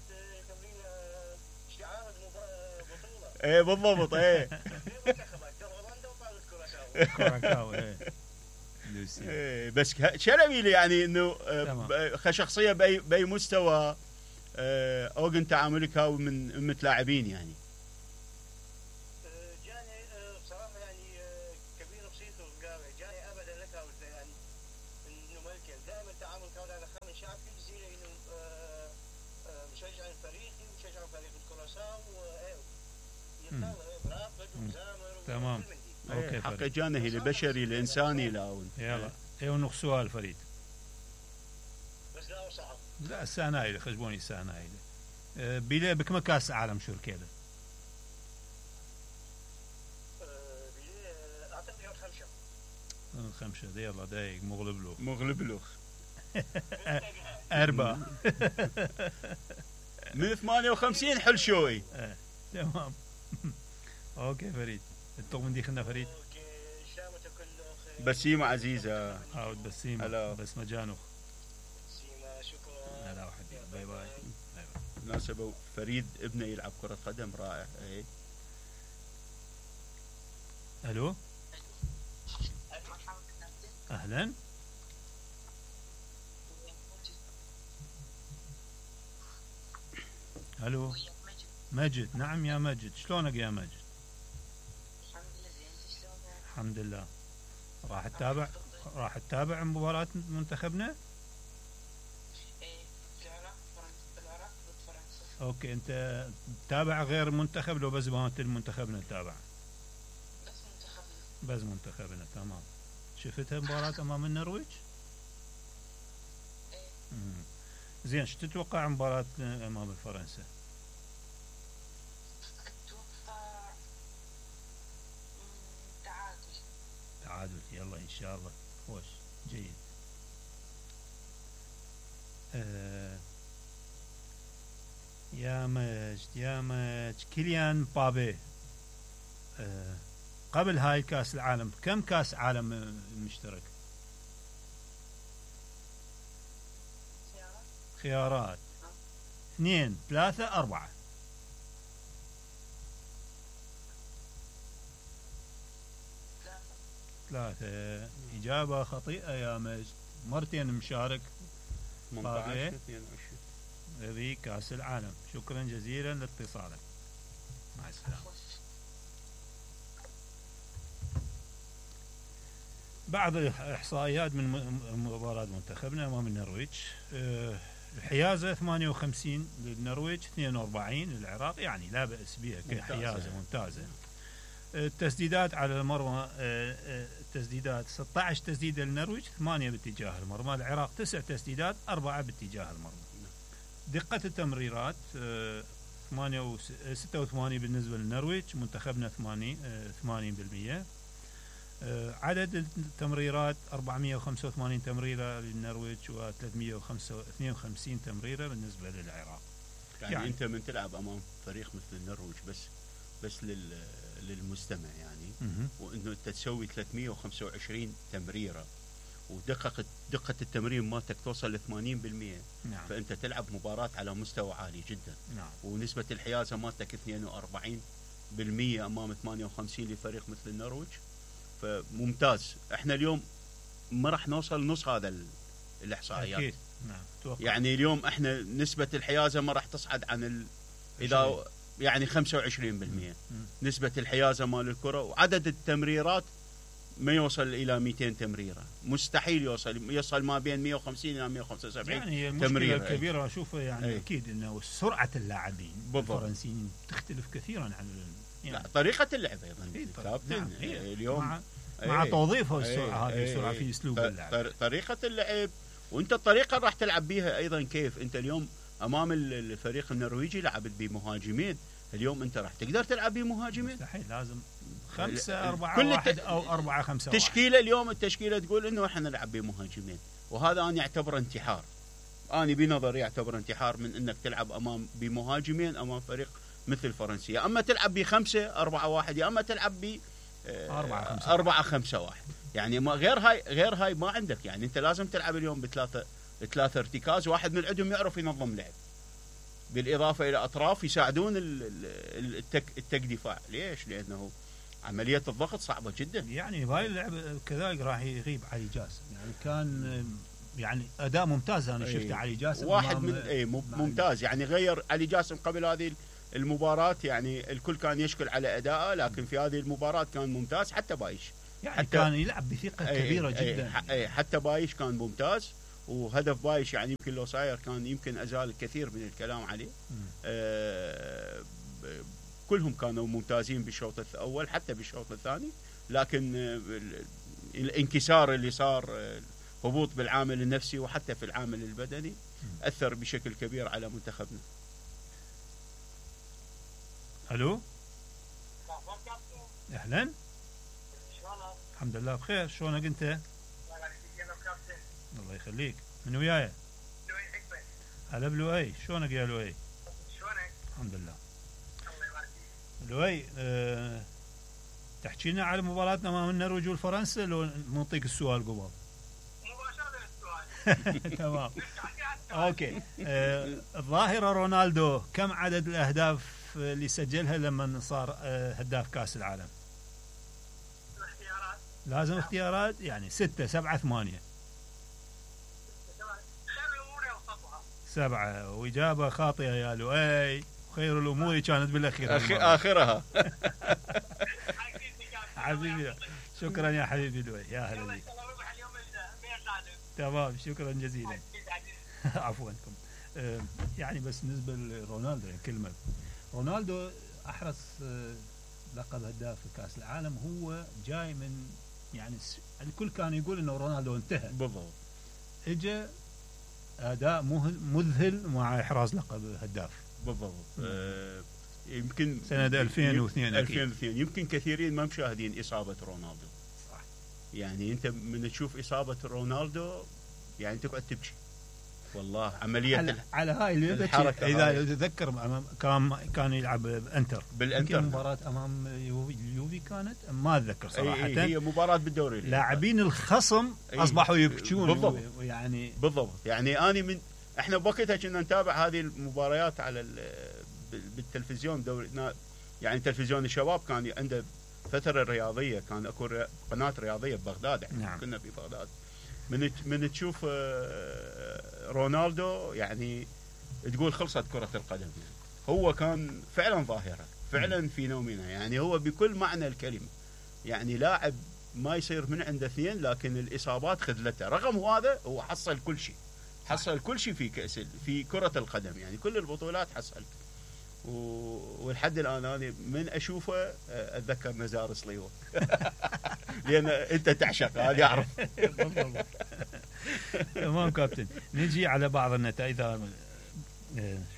شعار البطوله. ايه بالضبط. ايه كوراكاو. ايه ايه بس شلبي يعني انه كشخصيه باي باي مستوى اوجن تعاملك هاو من متلاعبين يعني. جاني بصراحه يعني كبير بسيطه وقال جاني ابدا لك يعني انه ملك دائما التعامل كان على خامن شعب كل زي انه مشجع الفريق مشجع فريق الكروساو يطلع برافق وزامر. تمام. اوكي حق جانه البشري الانساني لاون. يلا ايه ونخ سؤال فريد. بس لا صعب. لا السنه هاي خجبوني السنه هاي بيلي بكم كاس عالم شو كده؟ بيلي اعتقد خمسه. خمسه دي يلا دايق مغلب له مغلب له أربعة من ثمانية وخمسين حل شوي. تمام. اوكي فريد التوم دي خلنا فريد. اوكي شامته كله خير. بسيمة عزيزة. عاود بسيمة. هلا. بس مجانخ. بسيمة شكرا. هلا وحبيبي باي باي. مناسبة فريد ابنه يلعب كرة قدم رائع. ايه. الو. اهلا. الو مجد. نعم يا مجد شلونك يا مجد؟ الحمد لله. راح تتابع راح تتابع مباراة منتخبنا؟ اوكي انت تتابع غير منتخب لو بس مالت المنتخبنا تتابع؟ بس منتخبنا. بس منتخبنا تمام. شفتها مباراة امام النرويج؟ ايه. زين شو تتوقع مباراة امام فرنسا؟ اتوقع تعادل. تعادل يلا ان شاء الله. خوش جيد. آه يا مجد يا مجد كيليان مبابي آه قبل هاي كاس العالم كم كاس عالم مشترك؟ خيارات اثنين ثلاثة أربعة. ثلاثة. إجابة خاطئة يا مجد، مرتين مشارك ثمانية عشر اثنين وعشرين في كاس العالم. شكرا جزيلا لاتصالك، مع السلامة. بعض الإحصائيات من مباراة منتخبنا أمام النرويج. الحيازة ثمانية وخمسين للنرويج، اثنين وأربعين للعراق، يعني لا بأس بها كحيازة ممتازة. التسديدات على المرمى، التسديدات ستة عشر تسديدة للنرويج، ثمانية باتجاه المرمى. العراق تسع تسديدات، أربعة باتجاه المرمى. دقة التمريرات ثمانية ستة وثمانين بالنسبة للنرويج، منتخبنا ثمانين بالمئة. عدد التمريرات أربعمئة وخمسة وثمانين تمريرة للنرويج وثلاثمئة واثنين وخمسين تمريرة بالنسبة للعراق. يعني, يعني أنت من تلعب أمام فريق مثل النرويج بس بس لل للمستمع يعني م- وإنه أنت تسوي ثلاثمئة وخمسة وعشرين تمريرة ودقة دقة التمرير مالتك توصل ل ثمانين بالمئة. نعم. فأنت تلعب مباراة على مستوى عالي جدا. نعم. ونسبة الحيازة مالتك اثنين وأربعين بالمئة أمام ثمانية وخمسين لفريق مثل النرويج، فممتاز. احنا اليوم ما راح نوصل نص هذا الاحصائيات. أكيد. نعم. توقع. يعني اليوم احنا نسبة الحيازة ما راح تصعد عن ال... اذا يعني خمسة وعشرين بالمئة نسبة الحيازة مال الكرة، وعدد التمريرات ما يوصل الى مئتين تمريرة، مستحيل يوصل يوصل ما بين مئة وخمسين الى مئة وخمسة وسبعين يعني المشكلة تمريرة. الكبيرة اشوفها يعني أي. اكيد انه سرعة اللاعبين الفرنسيين تختلف كثيرا عن يعني. لا طريقة اللعب ايضا كابتن. نعم. اليوم مع, مع توظيفها السرعة هذه السرعة في اسلوب اللعب، طريقة اللعب، وانت الطريقة راح تلعب بيها ايضا. كيف انت اليوم امام الفريق النرويجي لعبت بمهاجمين، اليوم انت راح تقدر تلعب بمهاجمين؟ مستحيل، لازم خمسة أربعة واحد أو أربعة خمسة واحد. تشكيلة اليوم التشكيلة تقول إنه إحنا نلعب بمهاجمين، وهذا أنا أعتبره انتحار. أنا بنظري أعتبره انتحار من إنك تلعب أمام بمهاجمين أمام فريق مثل فرنسا. أما تلعب بخمسة أربعة واحد، يا أما تلعب ب أربعة خمسة واحد. يعني ما غير هاي غير هاي ما عندك. يعني أنت لازم تلعب اليوم بثلاثة ثلاثة ارتكاز، واحد من عندهم يعرف ينظم لعب، بالإضافة إلى أطراف يساعدون التك التك دفاع. ليش؟ لأنه عملية الضغط صعبة جدا. يعني بهاي اللعبة كذلك راح يغيب علي جاسم، يعني كان يعني أداء ممتاز. أنا شفت علي جاسم واحد من أي ممتاز، يعني غير علي جاسم قبل هذه المباراة، يعني الكل كان يشكل على أداءه، لكن في هذه المباراة كان ممتاز. حتى بايش يعني حتى كان يلعب بثقة كبيرة أي جدا. أي حتى بايش كان ممتاز، وهدف بايش يعني يمكن لو صاير كان يمكن أزال الكثير من الكلام عليه. آه كلهم كانوا ممتازين بالشوط الأول حتى بالشوط الثاني، لكن الانكسار اللي صار، هبوط بالعامل النفسي وحتى في العامل البدني، أثر بشكل كبير على منتخبنا. ألو، أهلا، الحمد لله بخير. شلونك أنت؟ الله يخليك. من وياي؟ هلا بلوي. شلونك يا لوي؟ شلونك؟ الحمد لله. الله يبارك فيك. لوي، أه تحكي لنا على مباراتنا امام النرويج والفرنسا لو نعطيك السؤال قبل؟ مباشرة السؤال. تمام. اوكي. أه الظاهرة رونالدو كم عدد الاهداف اللي سجلها لما صار أه هداف كاس العالم؟ الاختيارات. لازم اختيارات، يعني ستة سبعة ثمانية. سبعة. وإجابة خاطئة يا لؤي، خير الأمور كانت بالأخير. آخرها. حبيبي، شكرا يا حبيبي لؤي، يا هلا بك. تمام، شكرا جزيلا. عفواكم. آه يعني بس بالنسبة لرونالدو كلمة، رونالدو أحرز آه لقب هداف كأس العالم، هو جاي من يعني الكل كان يقول إنه رونالدو انتهى. بالضبط. إجا أداء مذهل مع إحراز لقب هداف. بالضبط. آه يمكن سنة ألفين واثنين ألفين واثنين يمكن كثيرين ما مشاهدين إصابة رونالدو. صح. يعني أنت من تشوف إصابة رونالدو يعني تقعد تبكي. والله عمليه على, على هاي اللعبه الحركة اذا هاي. تتذكر أمام كان كان يلعب بانتر بالانتر يمكن مباراه امام يوفي, اليوفي كانت ما اتذكر صراحه. أي هي مباراه بالدوري. لاعبين الخصم أي اصبحوا يبكون بالضبط. يعني بالضبط يعني اني من احنا بوقتها كنا نتابع هذه المباريات على بالتلفزيون دوري، يعني تلفزيون الشباب كان عنده فتره رياضيه، كان اكو قناه رياضيه ببغداد يعني. نعم. كنا في بغداد من من تشوف رونالدو يعني تقول خلصت كره القدم يعني. هو كان فعلا ظاهره، فعلا فينومينا يعني، هو بكل معنى الكلمه يعني لاعب ما يصير من عنده اثنين، لكن الاصابات خذلته. رغم هذا هو حصل كل شيء، حصل كل شيء في كأس في كره القدم يعني، كل البطولات حصل. والحد الان انا من اشوفه اتذكر نزار صليوه لان انت تعشق هذا يعرف. تمام كابتن. نجي على بعض النتائج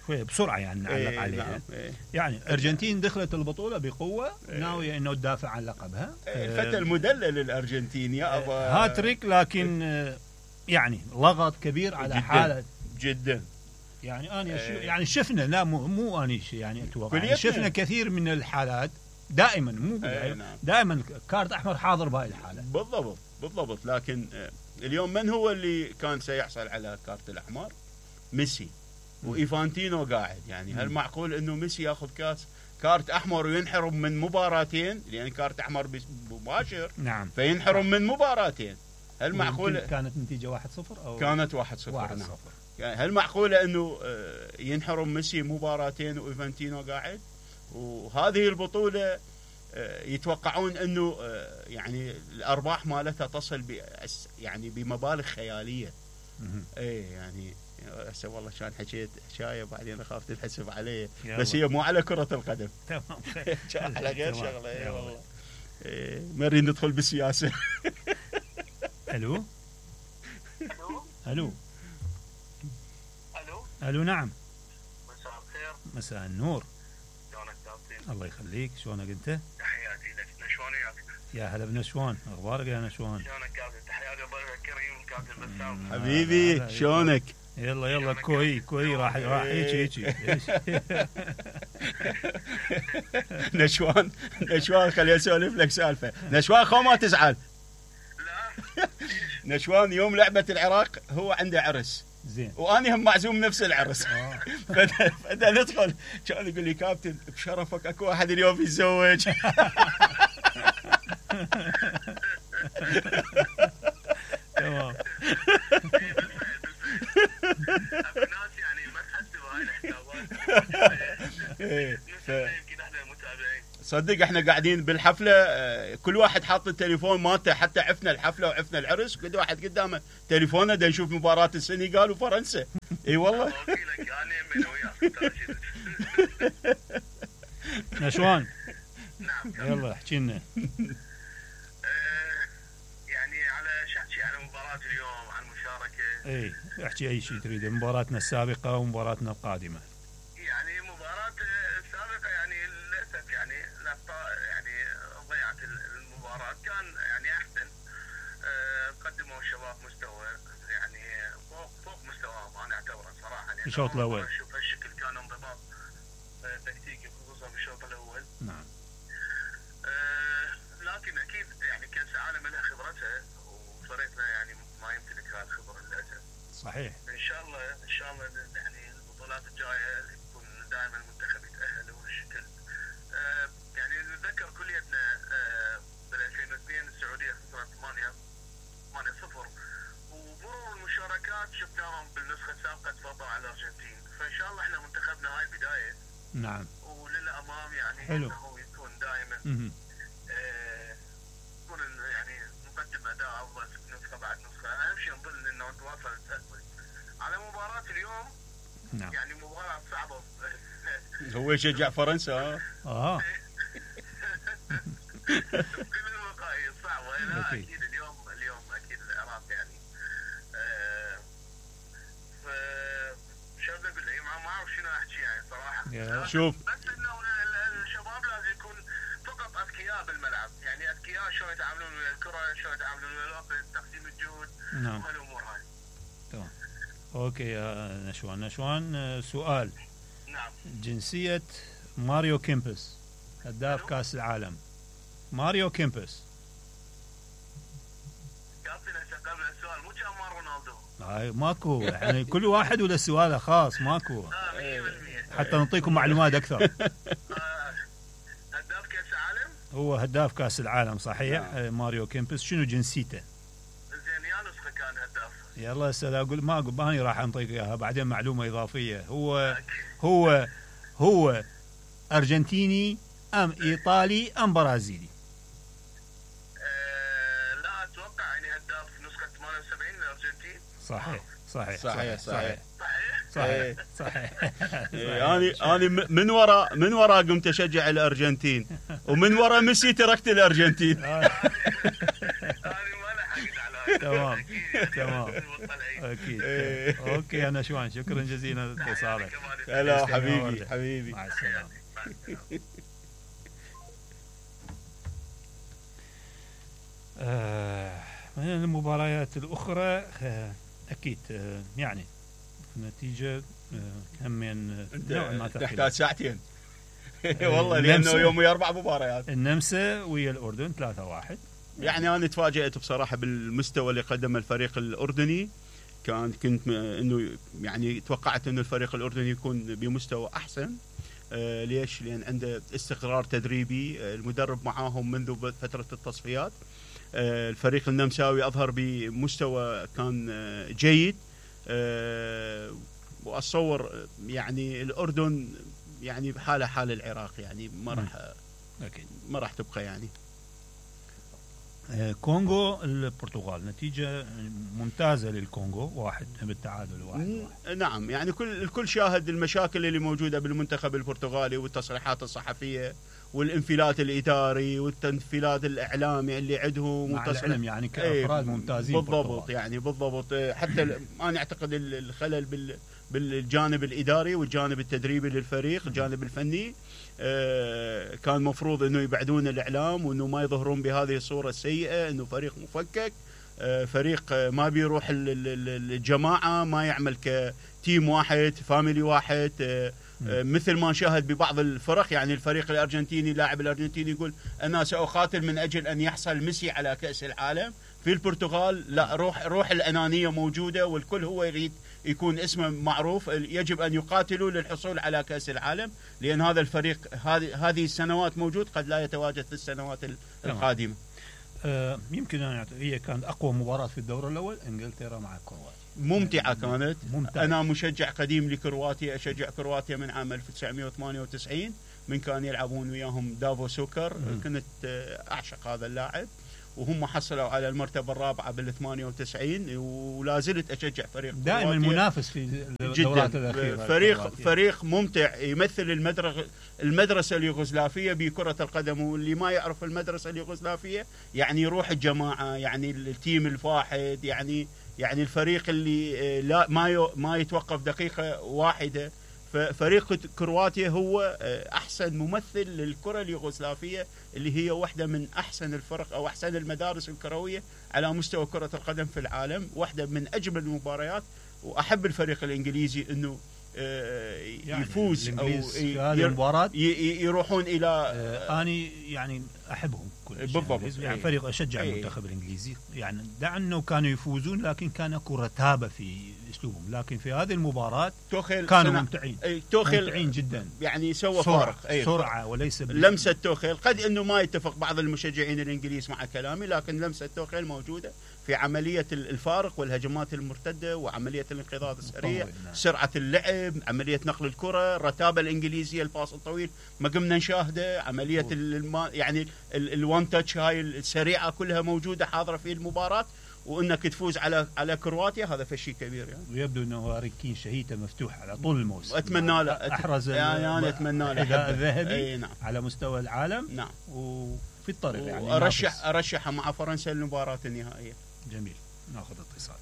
شويه بسرعه يعني نعلق إيه عليها. نعم إيه. يعني الارجنتين دخلت البطوله بقوه، إيه. ناويه انه تدافع عن لقبها. الفتى المدلل الارجنتين يا ابا هاتريك، لكن يعني لغط كبير على جداً حاله جدا يعني. انا إيه. يعني شفنا، لا مو مو اني يعني اتوقع يعني كليتنا. شفنا كثير من الحالات دائما مو إيه نعم. دائما كارت احمر حاضر بهاي الحاله. بالضبط بالضبط. لكن اليوم من هو اللي كان سيحصل على كارت الاحمر؟ ميسي وايفانتينو قاعد يعني. هل معقول انه ميسي ياخذ كاس كارت احمر وينحرم من مباراتين؟ لان كارت احمر مباشر. نعم. فينحرم من مباراتين. هل معقول كانت نتيجه واحد صفر او كانت واحد صفر؟ واحد نعم. صفر. يعني هل معقوله انه ينحرم ميسي مباراتين وايفانتينو قاعد؟ وهذه البطوله يتوقعون انه يعني الارباح مالتها تصل ب يعني بمبالغ خياليه. ايه يعني هسه والله كان حكيت حكايه بعدين اخاف تنحسب علي، بس هي مو على كره القدم. تمام. على غير شغله. اي والله. إيه ما نريد ندخل بالسياسه. الو الو الو الو الو نعم. مساء الخير. مساء النور. شلونك كابتن؟ الله يخليك. شلونك انت؟ تحياتي لك. نشوان وياك؟ يا هلا بنشوان، اخبارك يا نشوان؟ شلونك كابتن؟ تحياتي ضيفك الكريم كابتن بسام. حبيبي شلونك؟ يلا يلا كوي كوي راح راح هيك هيك. نشوان نشوان خليني اسولف لك سالفه. نشوان خو ما تزعل. لا نشوان يوم لعبه العراق هو عنده عرس زين، واني هم معزوم نفس العرس. آه. فدا فدا ندخل كان يقول لي كابتن بشرفك اكو واحد اليوم يتزوج. تمام. الناس يعني ما تحس بهاي الحسابات. إيه، ف- يمكن احنا متابعين. صدق احنا قاعدين بالحفله آه، كل واحد حاط التليفون مالته، حتى عفنا الحفله وعفنا العرس كل واحد قدامه تليفونه دا نشوف مباراه السنغال وفرنسا. اي والله. وكيلك انا من وياك. نشوان نعم. يلا احكي لنا. آه، يعني على شحكي على مباراة اليوم، عن المشاركة. اي احكي اي شيء تريده، مباراتنا السابقه ومباراتنا القادمه. يعني مباراة السابقة يعني للأسف يعني الأخطاء يعني ضيعت المباراة. كان يعني أحسن. آه، قدموا الشباب مستوى يعني فوق فوق مستواهم أنا أعتبره صراحة. يعني الشوط الأول. شوف هالشكل كان انضباط آه، تكتيكي خصوصا في الشوط الأول. نعم. آه، لكن أكيد يعني كأس العالم لها خبرتها، وفريقنا يعني ما يمتلك هذه الخبرة للأسف. صحيح. ان شاء الله ان شاء الله يعني البطولات الجايه يكون دائما المنتخب يتاهل وهالشكل. آه يعني نتذكر كليتنا آه بال ألفين واثنين السعوديه خسرت ثمانية صفر، ومرور المشاركات شفناهم بالنسخه السابقه تفضلوا على الارجنتين. فان شاء الله احنا منتخبنا هاي بدايه. نعم. وللامام يعني حلو. انه يكون دائما مهم. آه يكون يعني نقدم اداء افضل نسخه بعد نسخه. اهم شيء نظل انه نتواصل التأهل. على مباراة اليوم نعم. يعني مباراة صعبة. هو يشجع فرنسا. اه اه كل الوقائع صعبة. لا أكيد. أكيد اليوم اليوم أكيد العراق يعني. آه ف شو بدي أقول لك، ما ما أعرف شنو أحكي يعني صراحة. يا شوف. بس إنه ال- الشباب لازم يكون فقط أذكياء بالملعب، يعني أذكياء شلون يتعاملون ويا الكرة، شلون يتعاملون ويا الوقت، تقسيم الجهد نعم. وهالأمور هاي. تمام. اوكي يا نشوان. نشوان آه، سؤال. نعم. جنسية ماريو كيمبس هداف كاس العالم. ماريو كيمبس. كابتن هسه قبل السؤال مو كان مال رونالدو. هاي ماكو يعني كل واحد ولا سؤاله خاص ماكو اه مية بالمية. حتى نعطيكم معلومات اكثر. آه، هداف كاس العالم. هو هداف كاس العالم صحيح. آه، ماريو كيمبس. شنو جنسيته؟ زين يا نسخه كان هداف. يلا هسه اقول ما اقول ماني راح انطيك اياها بعدين معلومه اضافيه. هو هو هو ارجنتيني ام ايطالي ام برازيلي؟ آه، لا اتوقع يعني هداف نسخه ثمانية وسبعين الارجنتين. صحيح صحيح صحيح صحيح صحيح صحيح. انا انا من وراء من وراء قمت اشجع الارجنتين ومن وراء ميسي تركت الارجنتين. انا ما لحقت على هاي. تمام أكيد. تمام المطلعين. اكيد. اوكي انا شوان شكرا جزيلا لاتصالك. هلا تسلم يا حبيبي ولد. حبيبي. مع السلامه. آه، من المباريات الأخرى آه، أكيد آه، يعني النتيجة آه، همين نوعا ما تحتاج ثقيلة. ساعتين. والله لانه النمسا. يومي اربع مباريات. النمسا ويا الأردن ثلاثة واحد. يعني انا تفاجأت بصراحه بالمستوى اللي قدمه الفريق الاردني. كان كنت م- انه يعني توقعت انه الفريق الاردني يكون بمستوى احسن. آه ليش؟ لان عنده استقرار تدريبي. آه المدرب معاهم منذ فتره التصفيات. آه الفريق النمساوي اظهر بمستوى كان آه جيد. آه واتصور يعني الاردن يعني بحاله حال العراق يعني ما راح أكيد. ما راح تبقى يعني. آه، كونغو البرتغال نتيجة ممتازة للكونغو واحد بالتعادل واحد واحد. نعم يعني كل الكل شاهد المشاكل اللي موجودة بالمنتخب البرتغالي والتصريحات الصحفية والانفلات الإداري والتنفيلات الإعلامي اللي عندهم. مع والتصريح- العلم يعني كأفراد إيه، ممتازين بالضبط البرتغال. يعني بالضبط. إيه، حتى ال- أنا أعتقد ال- الخلل بال بالجانب الإداري والجانب التدريبي للفريق الجانب الفني. آه، كان مفروض أنه يبعدون الإعلام وأنه ما يظهرون بهذه الصورة السيئة أنه فريق مفكك. آه، فريق آه، ما بيروح ال- ال- ال- الجماعة ما يعمل كتيم واحد فاميلي واحد. آه، آه، مثل ما نشاهد ببعض الفرق يعني الفريق الأرجنتيني لاعب الأرجنتيني يقول أنا سأقاتل من أجل أن يحصل ميسي على كأس العالم. في البرتغال لا، روح روح الأنانية موجودة والكل هو يريد يكون اسمه معروف. يجب أن يقاتلوا للحصول على كأس العالم لأن هذا الفريق هذه هذه السنوات موجود قد لا يتواجد في السنوات القادمة. آه، يمكن أن يعت- هي كانت أقوى مباراة في الدور الأول إنجلترا مع كرواتيا. ممتعة كانت. ممتعة. أنا مشجع قديم لكرواتيا. أشجع كرواتيا من عام ألف وتسعمائة وثمانية وتسعين من كان يلعبون وياهم دافو سوكر. مم. كنت آه، أعشق هذا اللاعب وهم حصلوا على المرتبة الرابعة بال ثمانية وتسعين ولا زلت أشجع فريق دائما كرواتيا. منافس في الدورات جدا الأخيرة. فريق كرواتيا. فريق ممتع يمثل المدرسة المدرسة اليوغوسلافية بكرة القدم. واللي ما يعرف المدرسة اليوغوسلافية يعني روح الجماعة يعني التيم الواحد يعني يعني الفريق اللي آه، لا ما يو- ما يتوقف دقيقة واحدة. ففريق كرواتيا هو آه، أحسن ممثل للكرة اليوغوسلافية اللي هي واحدة من أحسن الفرق أو أحسن المدارس الكروية على مستوى كرة القدم في العالم. واحدة من أجمل المباريات. وأحب الفريق الإنجليزي أنه آه، يعني يفوز أو الإنجليز في ي- هذه ير- المباراة ي- ي- يروحون إلى آه، اني يعني احبهم كل شيء. بالضبط. يعني أي. فريق اشجع أي. المنتخب الانجليزي يعني دع انه كانوا يفوزون لكن كان اكو رتابه في اسلوبهم. لكن في هذه المباراه توخيل كانوا صنع- ممتعين أي، توخيل ممتعين جدا. يعني سوى سرعه فارق. أي. سرعه وليس بال- لمسة توخيل قد انه ما يتفق بعض المشجعين الانجليز مع كلامي لكن لمسة توخيل موجودة في عملية الفارق والهجمات المرتدة وعملية الانقضاض السريع. بالطبع، نعم. سرعة اللعب عملية نقل الكرة الرتابة الانجليزية الباص الطويل ما قمنا نشاهده. عملية الما يعني الوان تاتش هاي السريعة كلها موجودة حاضرة في المباراة. وانك تفوز على على كرواتيا هذا فشي كبير يعني. ويبدو انه هاري كين شهيته مفتوحه على طول الموسم. اتمنى له احرز يعني انا اتمنى له الحذاء أحبه. الذهبي اي نعم على مستوى العالم. نعم. وفي الطريق يعني وارشح ينافس. ارشحها مع فرنسا للمباراة النهائية. جميل. ناخذ اتصال.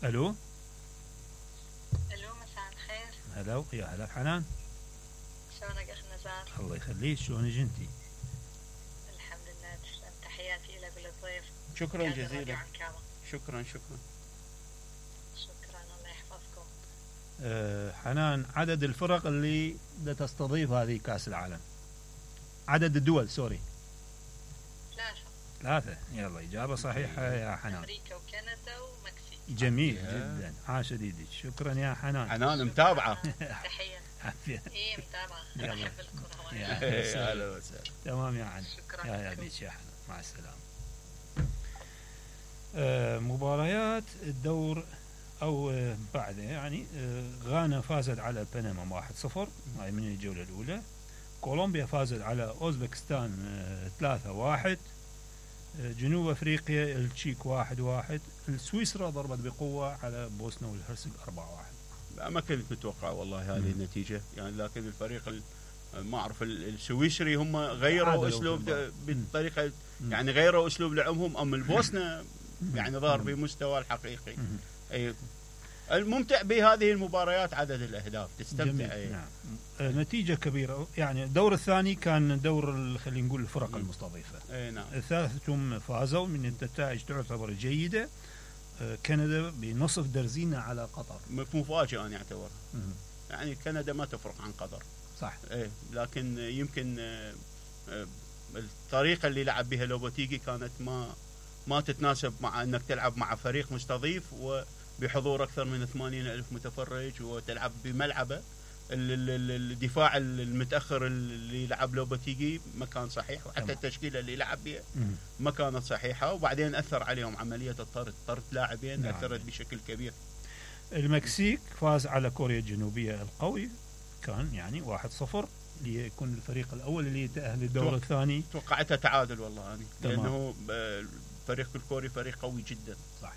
الو. الو مساء الخير. هلا يا هلا حنان. شلونك اخ نزار؟ الله يخليك. شلونك انتي؟ الحمد لله تسلم. تحياتي لك وللضيف. شكرا هذا الراديو جزيلا. عنكابة. شكرا شكرا شكرا الله يحفظكم. أه حنان، عدد الفرق اللي تستضيف هذه كأس العالم، عدد الدول سوري. ثلاثة. ثلاثة، يلا إجابة صحيحة يا حنان. أمريكا وكندا ومكسيك. جميل جدا، عاش ديدي، شكرا يا حنان. حنان متابعة. تحية. ايه متابعة، يلا. أنا أحب الكرة. يا اهلا وسهلا. تمام يا حنان. شكرا يا يا لكم. بيش يا حنان، مع السلامة. آه مباريات الدور أو آه بعده يعني آه غانا فازت على بنما واحد صفر، هاي من الجولة الأولى. كولومبيا فازت على أوزبكستان آه ثلاثة واحد. آه جنوب أفريقيا التشيك واحد واحد. سويسرا ضربت بقوة على بوسنا والهرسك أربعة واحد. لا ما كنت متوقع والله هذه مم. النتيجة يعني، لكن الفريق ال- ما أعرف ال- السويسري هم غيروا تعادلوا أسلوب في المباراة. بالطريقة مم. يعني غيروا أسلوب لعبهم. أما البوسنة يعني ظهر مم. بمستوى الحقيقي. مم. أي الممتع بهذه المباريات عدد الأهداف جميل. تستمتع. أي. نعم. آه نتيجة كبيرة يعني. الدور الثاني كان دور ال- خلينا نقول الفرق مم. المستضيفة. أي نعم. ثلاثتهم فازوا من النتائج تعتبر جيدة. آه كندا بنصف درزينة على قطر. مفاجأة أنا أعتبر مم. يعني كندا ما تفرق عن قطر. صح. ايه لكن يمكن آه، آه، الطريقه اللي لعب بها لوبوتيجي كانت ما ما تتناسب مع انك تلعب مع فريق مستضيف وبحضور اكثر من ثمانين ألف متفرج وتلعب بملعبه. ال- ال- ال- الدفاع المتاخر اللي لعب لوبوتيجي ما كان صحيح، وحتى تمام. التشكيله اللي لعب بها مم. ما كانت صحيحه، وبعدين اثر عليهم عمليه الطرد، طرد لاعبين نعم. اثرت بشكل كبير. المكسيك فاز على كوريا الجنوبية القوي، كان يعني واحد صفر ليكون الفريق الأول اللي يتأهل للدور توقع. الثاني. توقعتها تعادل والله انا، تمام. لانه آه، الفريق الكوري فريق قوي جدا. صح.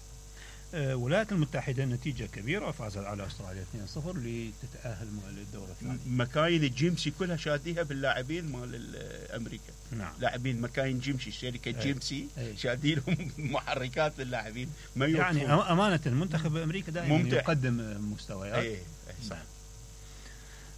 آه، الولايات المتحدة نتيجة كبيرة، فازت على أستراليا اثنين صفر لتتأهل للدور الثاني. مكاين الجيمسي كلها شاديها باللاعبين مال ال- امريكا. نعم. لاعبين مكاين جيمسي، شركه أي. جيمسي أي. شاديلهم محركات للاعبين ما يعني يوقفون. أم- أمانة المنتخب أمريكا دائما ممتع. يقدم آه، مستويات. اي أي صح. نعم.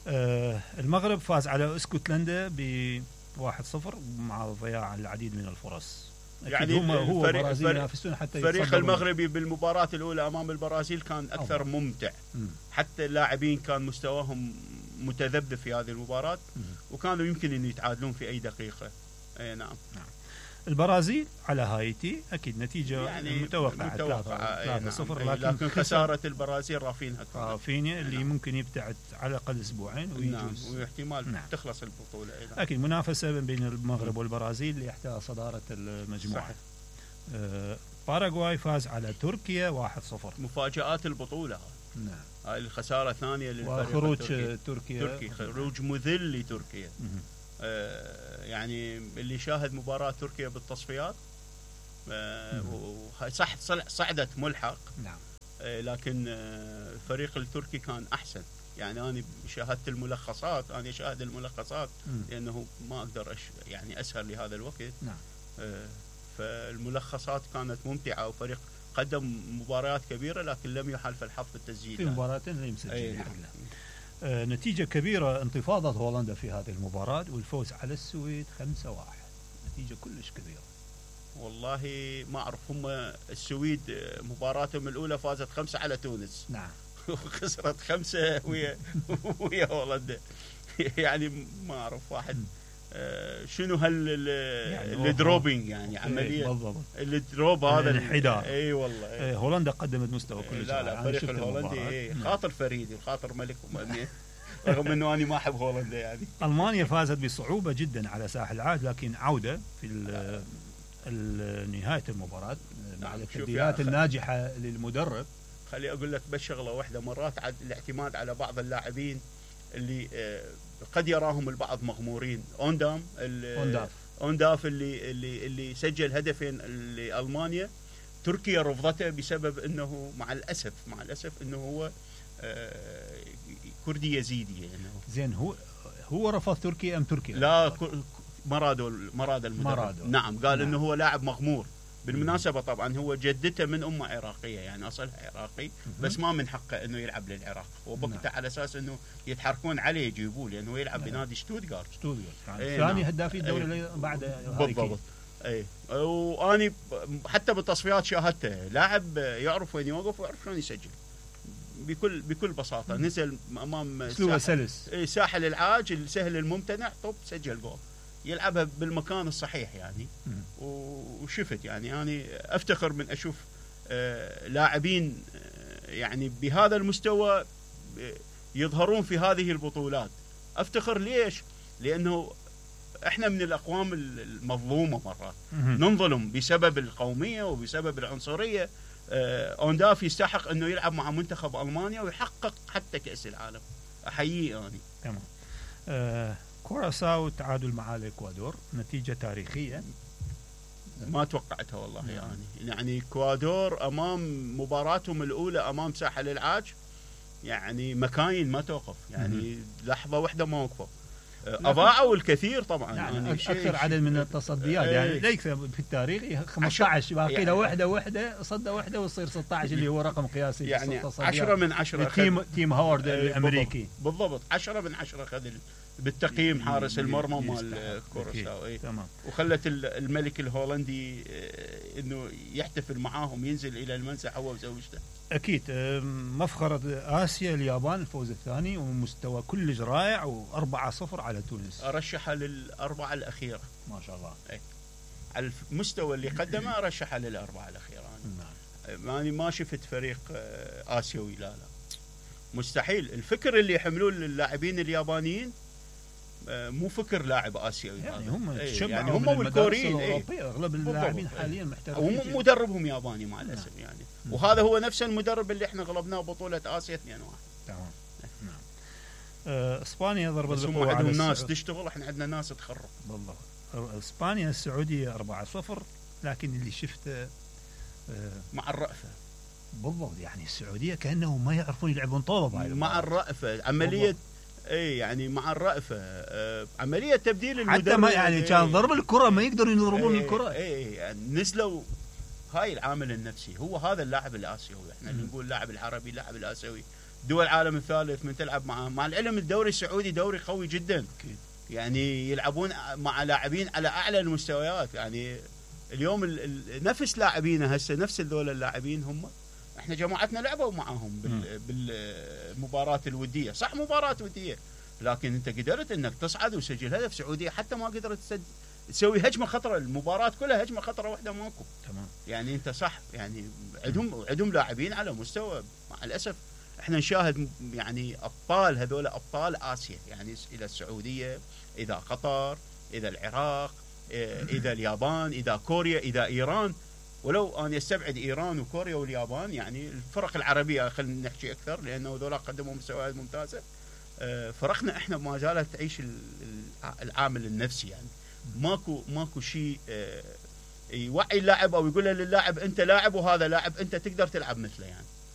آه، المغرب فاز على اسكتلندا ب واحد صفر مع ضياع العديد من الفرص. أكيد يعني هم هو الفريق- برازيل الفريق- ينافسون حتى الفريق يتصدرون. المغربي بالمباراه الاولى امام البرازيل كان اكثر أفضل. ممتع، مم. حتى اللاعبين كان مستواهم متذبذب في هذه المباراه، مم. وكانوا يمكن ان يتعادلون في اي دقيقه. اي نعم. البرازيل على هايتي اكيد نتيجه يعني متوقعه متوقعة، أي ثلاثة نعم. صفر، أي لكن, لكن خساره البرازيل رافينها كانت. رافينيا اللي نعم. ممكن يبتعد على الاقل اسبوعين نعم، ويجوز. واحتمال نعم. تخلص البطوله. أي نعم. اكيد منافسه بين المغرب والبرازيل ليحتل صداره المجموعه. صحيح. آه، باراغواي فاز على تركيا واحد صفر. مفاجآت البطولة. نعم. هاي الخسارة الثانية للفريق وخروج التركي. تركيا. تركي خروج مذل لتركيا. مم. آه يعني اللي شاهد مباراة تركيا بالتصفيات آه مم. و- صح صل- صعدت ملحق، نعم. آه لكن آه الفريق التركي كان أحسن. يعني أنا شاهدت الملخصات، أنا شاهد الملخصات مم. لأنه ما أقدر أش يعني أسهر لهذا الوقت. نعم. آه فالملخصات كانت ممتعة، وفريق قدم مباريات كبيرة لكن لم يحالف الحظ في التسجيل. في مباراتين اللي مسجل أي الحمد نعم. لله. آه، نتيجة كبيرة، انتفاضة هولندا في هذه المباراة والفوز على السويد خمسة واحد، نتيجة كلش كبيرة. والله ما أعرف، هم السويد مباراتهم الأولى فازت خمسة على تونس نعم. وخسرت خمسة ويا ويا هولندا. يعني ما أعرف واحد آه، شنو هال يعني الدروبينج يعني إيه، عملية بالضبط. الدروب هذا الانحدار. اي والله. آه، هولندا قدمت مستوى إيه كلش لا لا رائع. أنا فريق شفت الهولندي المباراة. إيه نعم. خاطر فريدي وخاطر ملك ومأمين. رغم انه انا ما احب هولندا يعني. ألمانيا فازت بصعوبة جدا على ساحل العاج، لكن عودة في ال- ال- نهاية المباراة مع نعم، شوف التبديلات يا أخي. الناجحة للمدرب. خلي اقول لك بس شغله واحده، مرات عاد الاعتماد على بعض اللاعبين اللي آه، قد يراهم البعض مغمورين. اوندام ال- أونداف. اونداف اللي اللي اللي سجل هدفين لالمانيا، تركيا رفضته بسبب انه مع الاسف مع الاسف انه هو آه، كردي يزيدي يعني. زين، هو هو رفض تركيا أم تركيا؟ لا ك- مرادو مراد المدرب. مرادو. نعم قال نعم. انه هو لاعب مغمور. بالمناسبة طبعا هو جدته من أمة عراقية، يعني أصلها عراقي، بس ما من حقه أنه يلعب للعراق، وبقته نعم. على أساس أنه يتحركون عليه يجيبوه، لأنه يلعب نعم. بنادي شتوتغارت. شتوتغارت يعني إيه ثاني نعم. هدافي الدوري إيه. اللي بعد هاري بالضبط. كين. اي واني حتى بالتصفيات شاهدته لاعب يعرف وين يوقف ويعرف شلون يسجل بكل بكل بساطه. نزل امام اسلوبه سلس، اي ساحل العاج السهل الممتنع طب سجل جول، يلعبها بالمكان الصحيح يعني. وشفت يعني اني افتخر من اشوف آه لاعبين آه يعني بهذا المستوى يظهرون في هذه البطولات. افتخر ليش؟ لانه احنا من الاقوام المظلومه مرات، ننظلم بسبب القوميه وبسبب العنصريه. آه اونداف يستحق انه يلعب مع منتخب المانيا ويحقق حتى كاس العالم. احييه اني. تمام. آه كوراساو تعادل مع الاكوادور، نتيجه تاريخيه ما توقعتها والله. يعني يعني الاكوادور امام مباراتهم الاولى امام ساحل العاج يعني مكاين ما توقف، يعني لحظه واحده ما وقفوا، اضاعوا الكثير طبعا. يعني يعني اكثر عدد من التصديات ايه يعني ليس في التاريخ خمسة عشر باقي له يعني وحده وحده صده وحده ويصير ستة عشر اللي هو رقم قياسي يعني عشرة من عشرة. تيم تيم هاورد الامريكي بالضبط عشرة من عشرة خذ بالتقييم حارس المرمى مال كوراساو. اي تمام. وخلت الملك الهولندي انه يحتفل معاهم، ينزل الى المنسف هو وزوجته. اكيد مفخرة اسيا اليابان الفوز الثاني ومستوى كلش رائع وأربعة صفر على تونس. ارشحها للاربعه الاخيره ما شاء الله. اي على المستوى اللي قدمه ارشحها للاربعه الاخيره. انا يعني ما شفت فريق اسيوي لا لا مستحيل. الفكر اللي يحملون اللاعبين اليابانيين مو فكر لاعب اسيوي يعني هم ايه يعني هم والكوريين ايه اغلب اللاعبين حاليا محترفين ومدربهم ياباني مع الاسف يعني. نعم. وهذا هو نفس المدرب اللي احنا غلبناه بطوله اسيا اثنين واحد. تمام. نعم. آه اسبانيا ضربت بالقوه على عندهم ناس تشتغل، احنا عندنا ناس تخرب. بالضبط. اسبانيا السعوديه أربعة صفر، لكن اللي شفته آه مع الرأفه. بالضبط يعني السعوديه كانه ما يعرفون يلعبون طوبه مع الرأفه عمليه. اي يعني مع الرأفه آه عمليه تبديل المدرب حتى ما يعني كان ايه ضرب الكره ما يقدرون يضربون ايه الكره. اي يعني نزلوا. هاي العامل النفسي هو هذا اللاعب الاسيوي. احنا اللي نقول اللاعب العربي اللاعب الاسيوي دول العالم الثالث من تلعب مع مع العلم الدوري السعودي دوري قوي جدا. يعني يلعبون مع لاعبين على اعلى المستويات. يعني اليوم ال ال نفس لاعبينا هسه نفس هذول اللاعبين هم احنا جماعتنا لعبوا معاهم بال بالمباراه الوديه. صح مباراه وديه لكن انت قدرت انك تصعد وسجل هدف. سعوديه حتى ما قدرت تسوي هجمه خطره. المباراه كلها هجمه خطره واحده ماكو. تمام. يعني انت صح يعني عندهم عندهم لاعبين على مستوى. مع الاسف احنا نشاهد يعني ابطال هذول ابطال اسيا يعني اذا السعوديه اذا قطر اذا العراق اذا اليابان اذا كوريا اذا ايران. ولو انا استبعد ايران وكوريا واليابان يعني الفرق العربيه خلينا نحكي اكثر لانه هذول قدموا مستويات ممتازه. فرقنا احنا ما زالت تعيش العامل النفسي. يعني ماكو ماكو شيء يوعي اللاعب او يقول للاعب انت لاعب وهذا لاعب انت تقدر تلعب مثله. يعني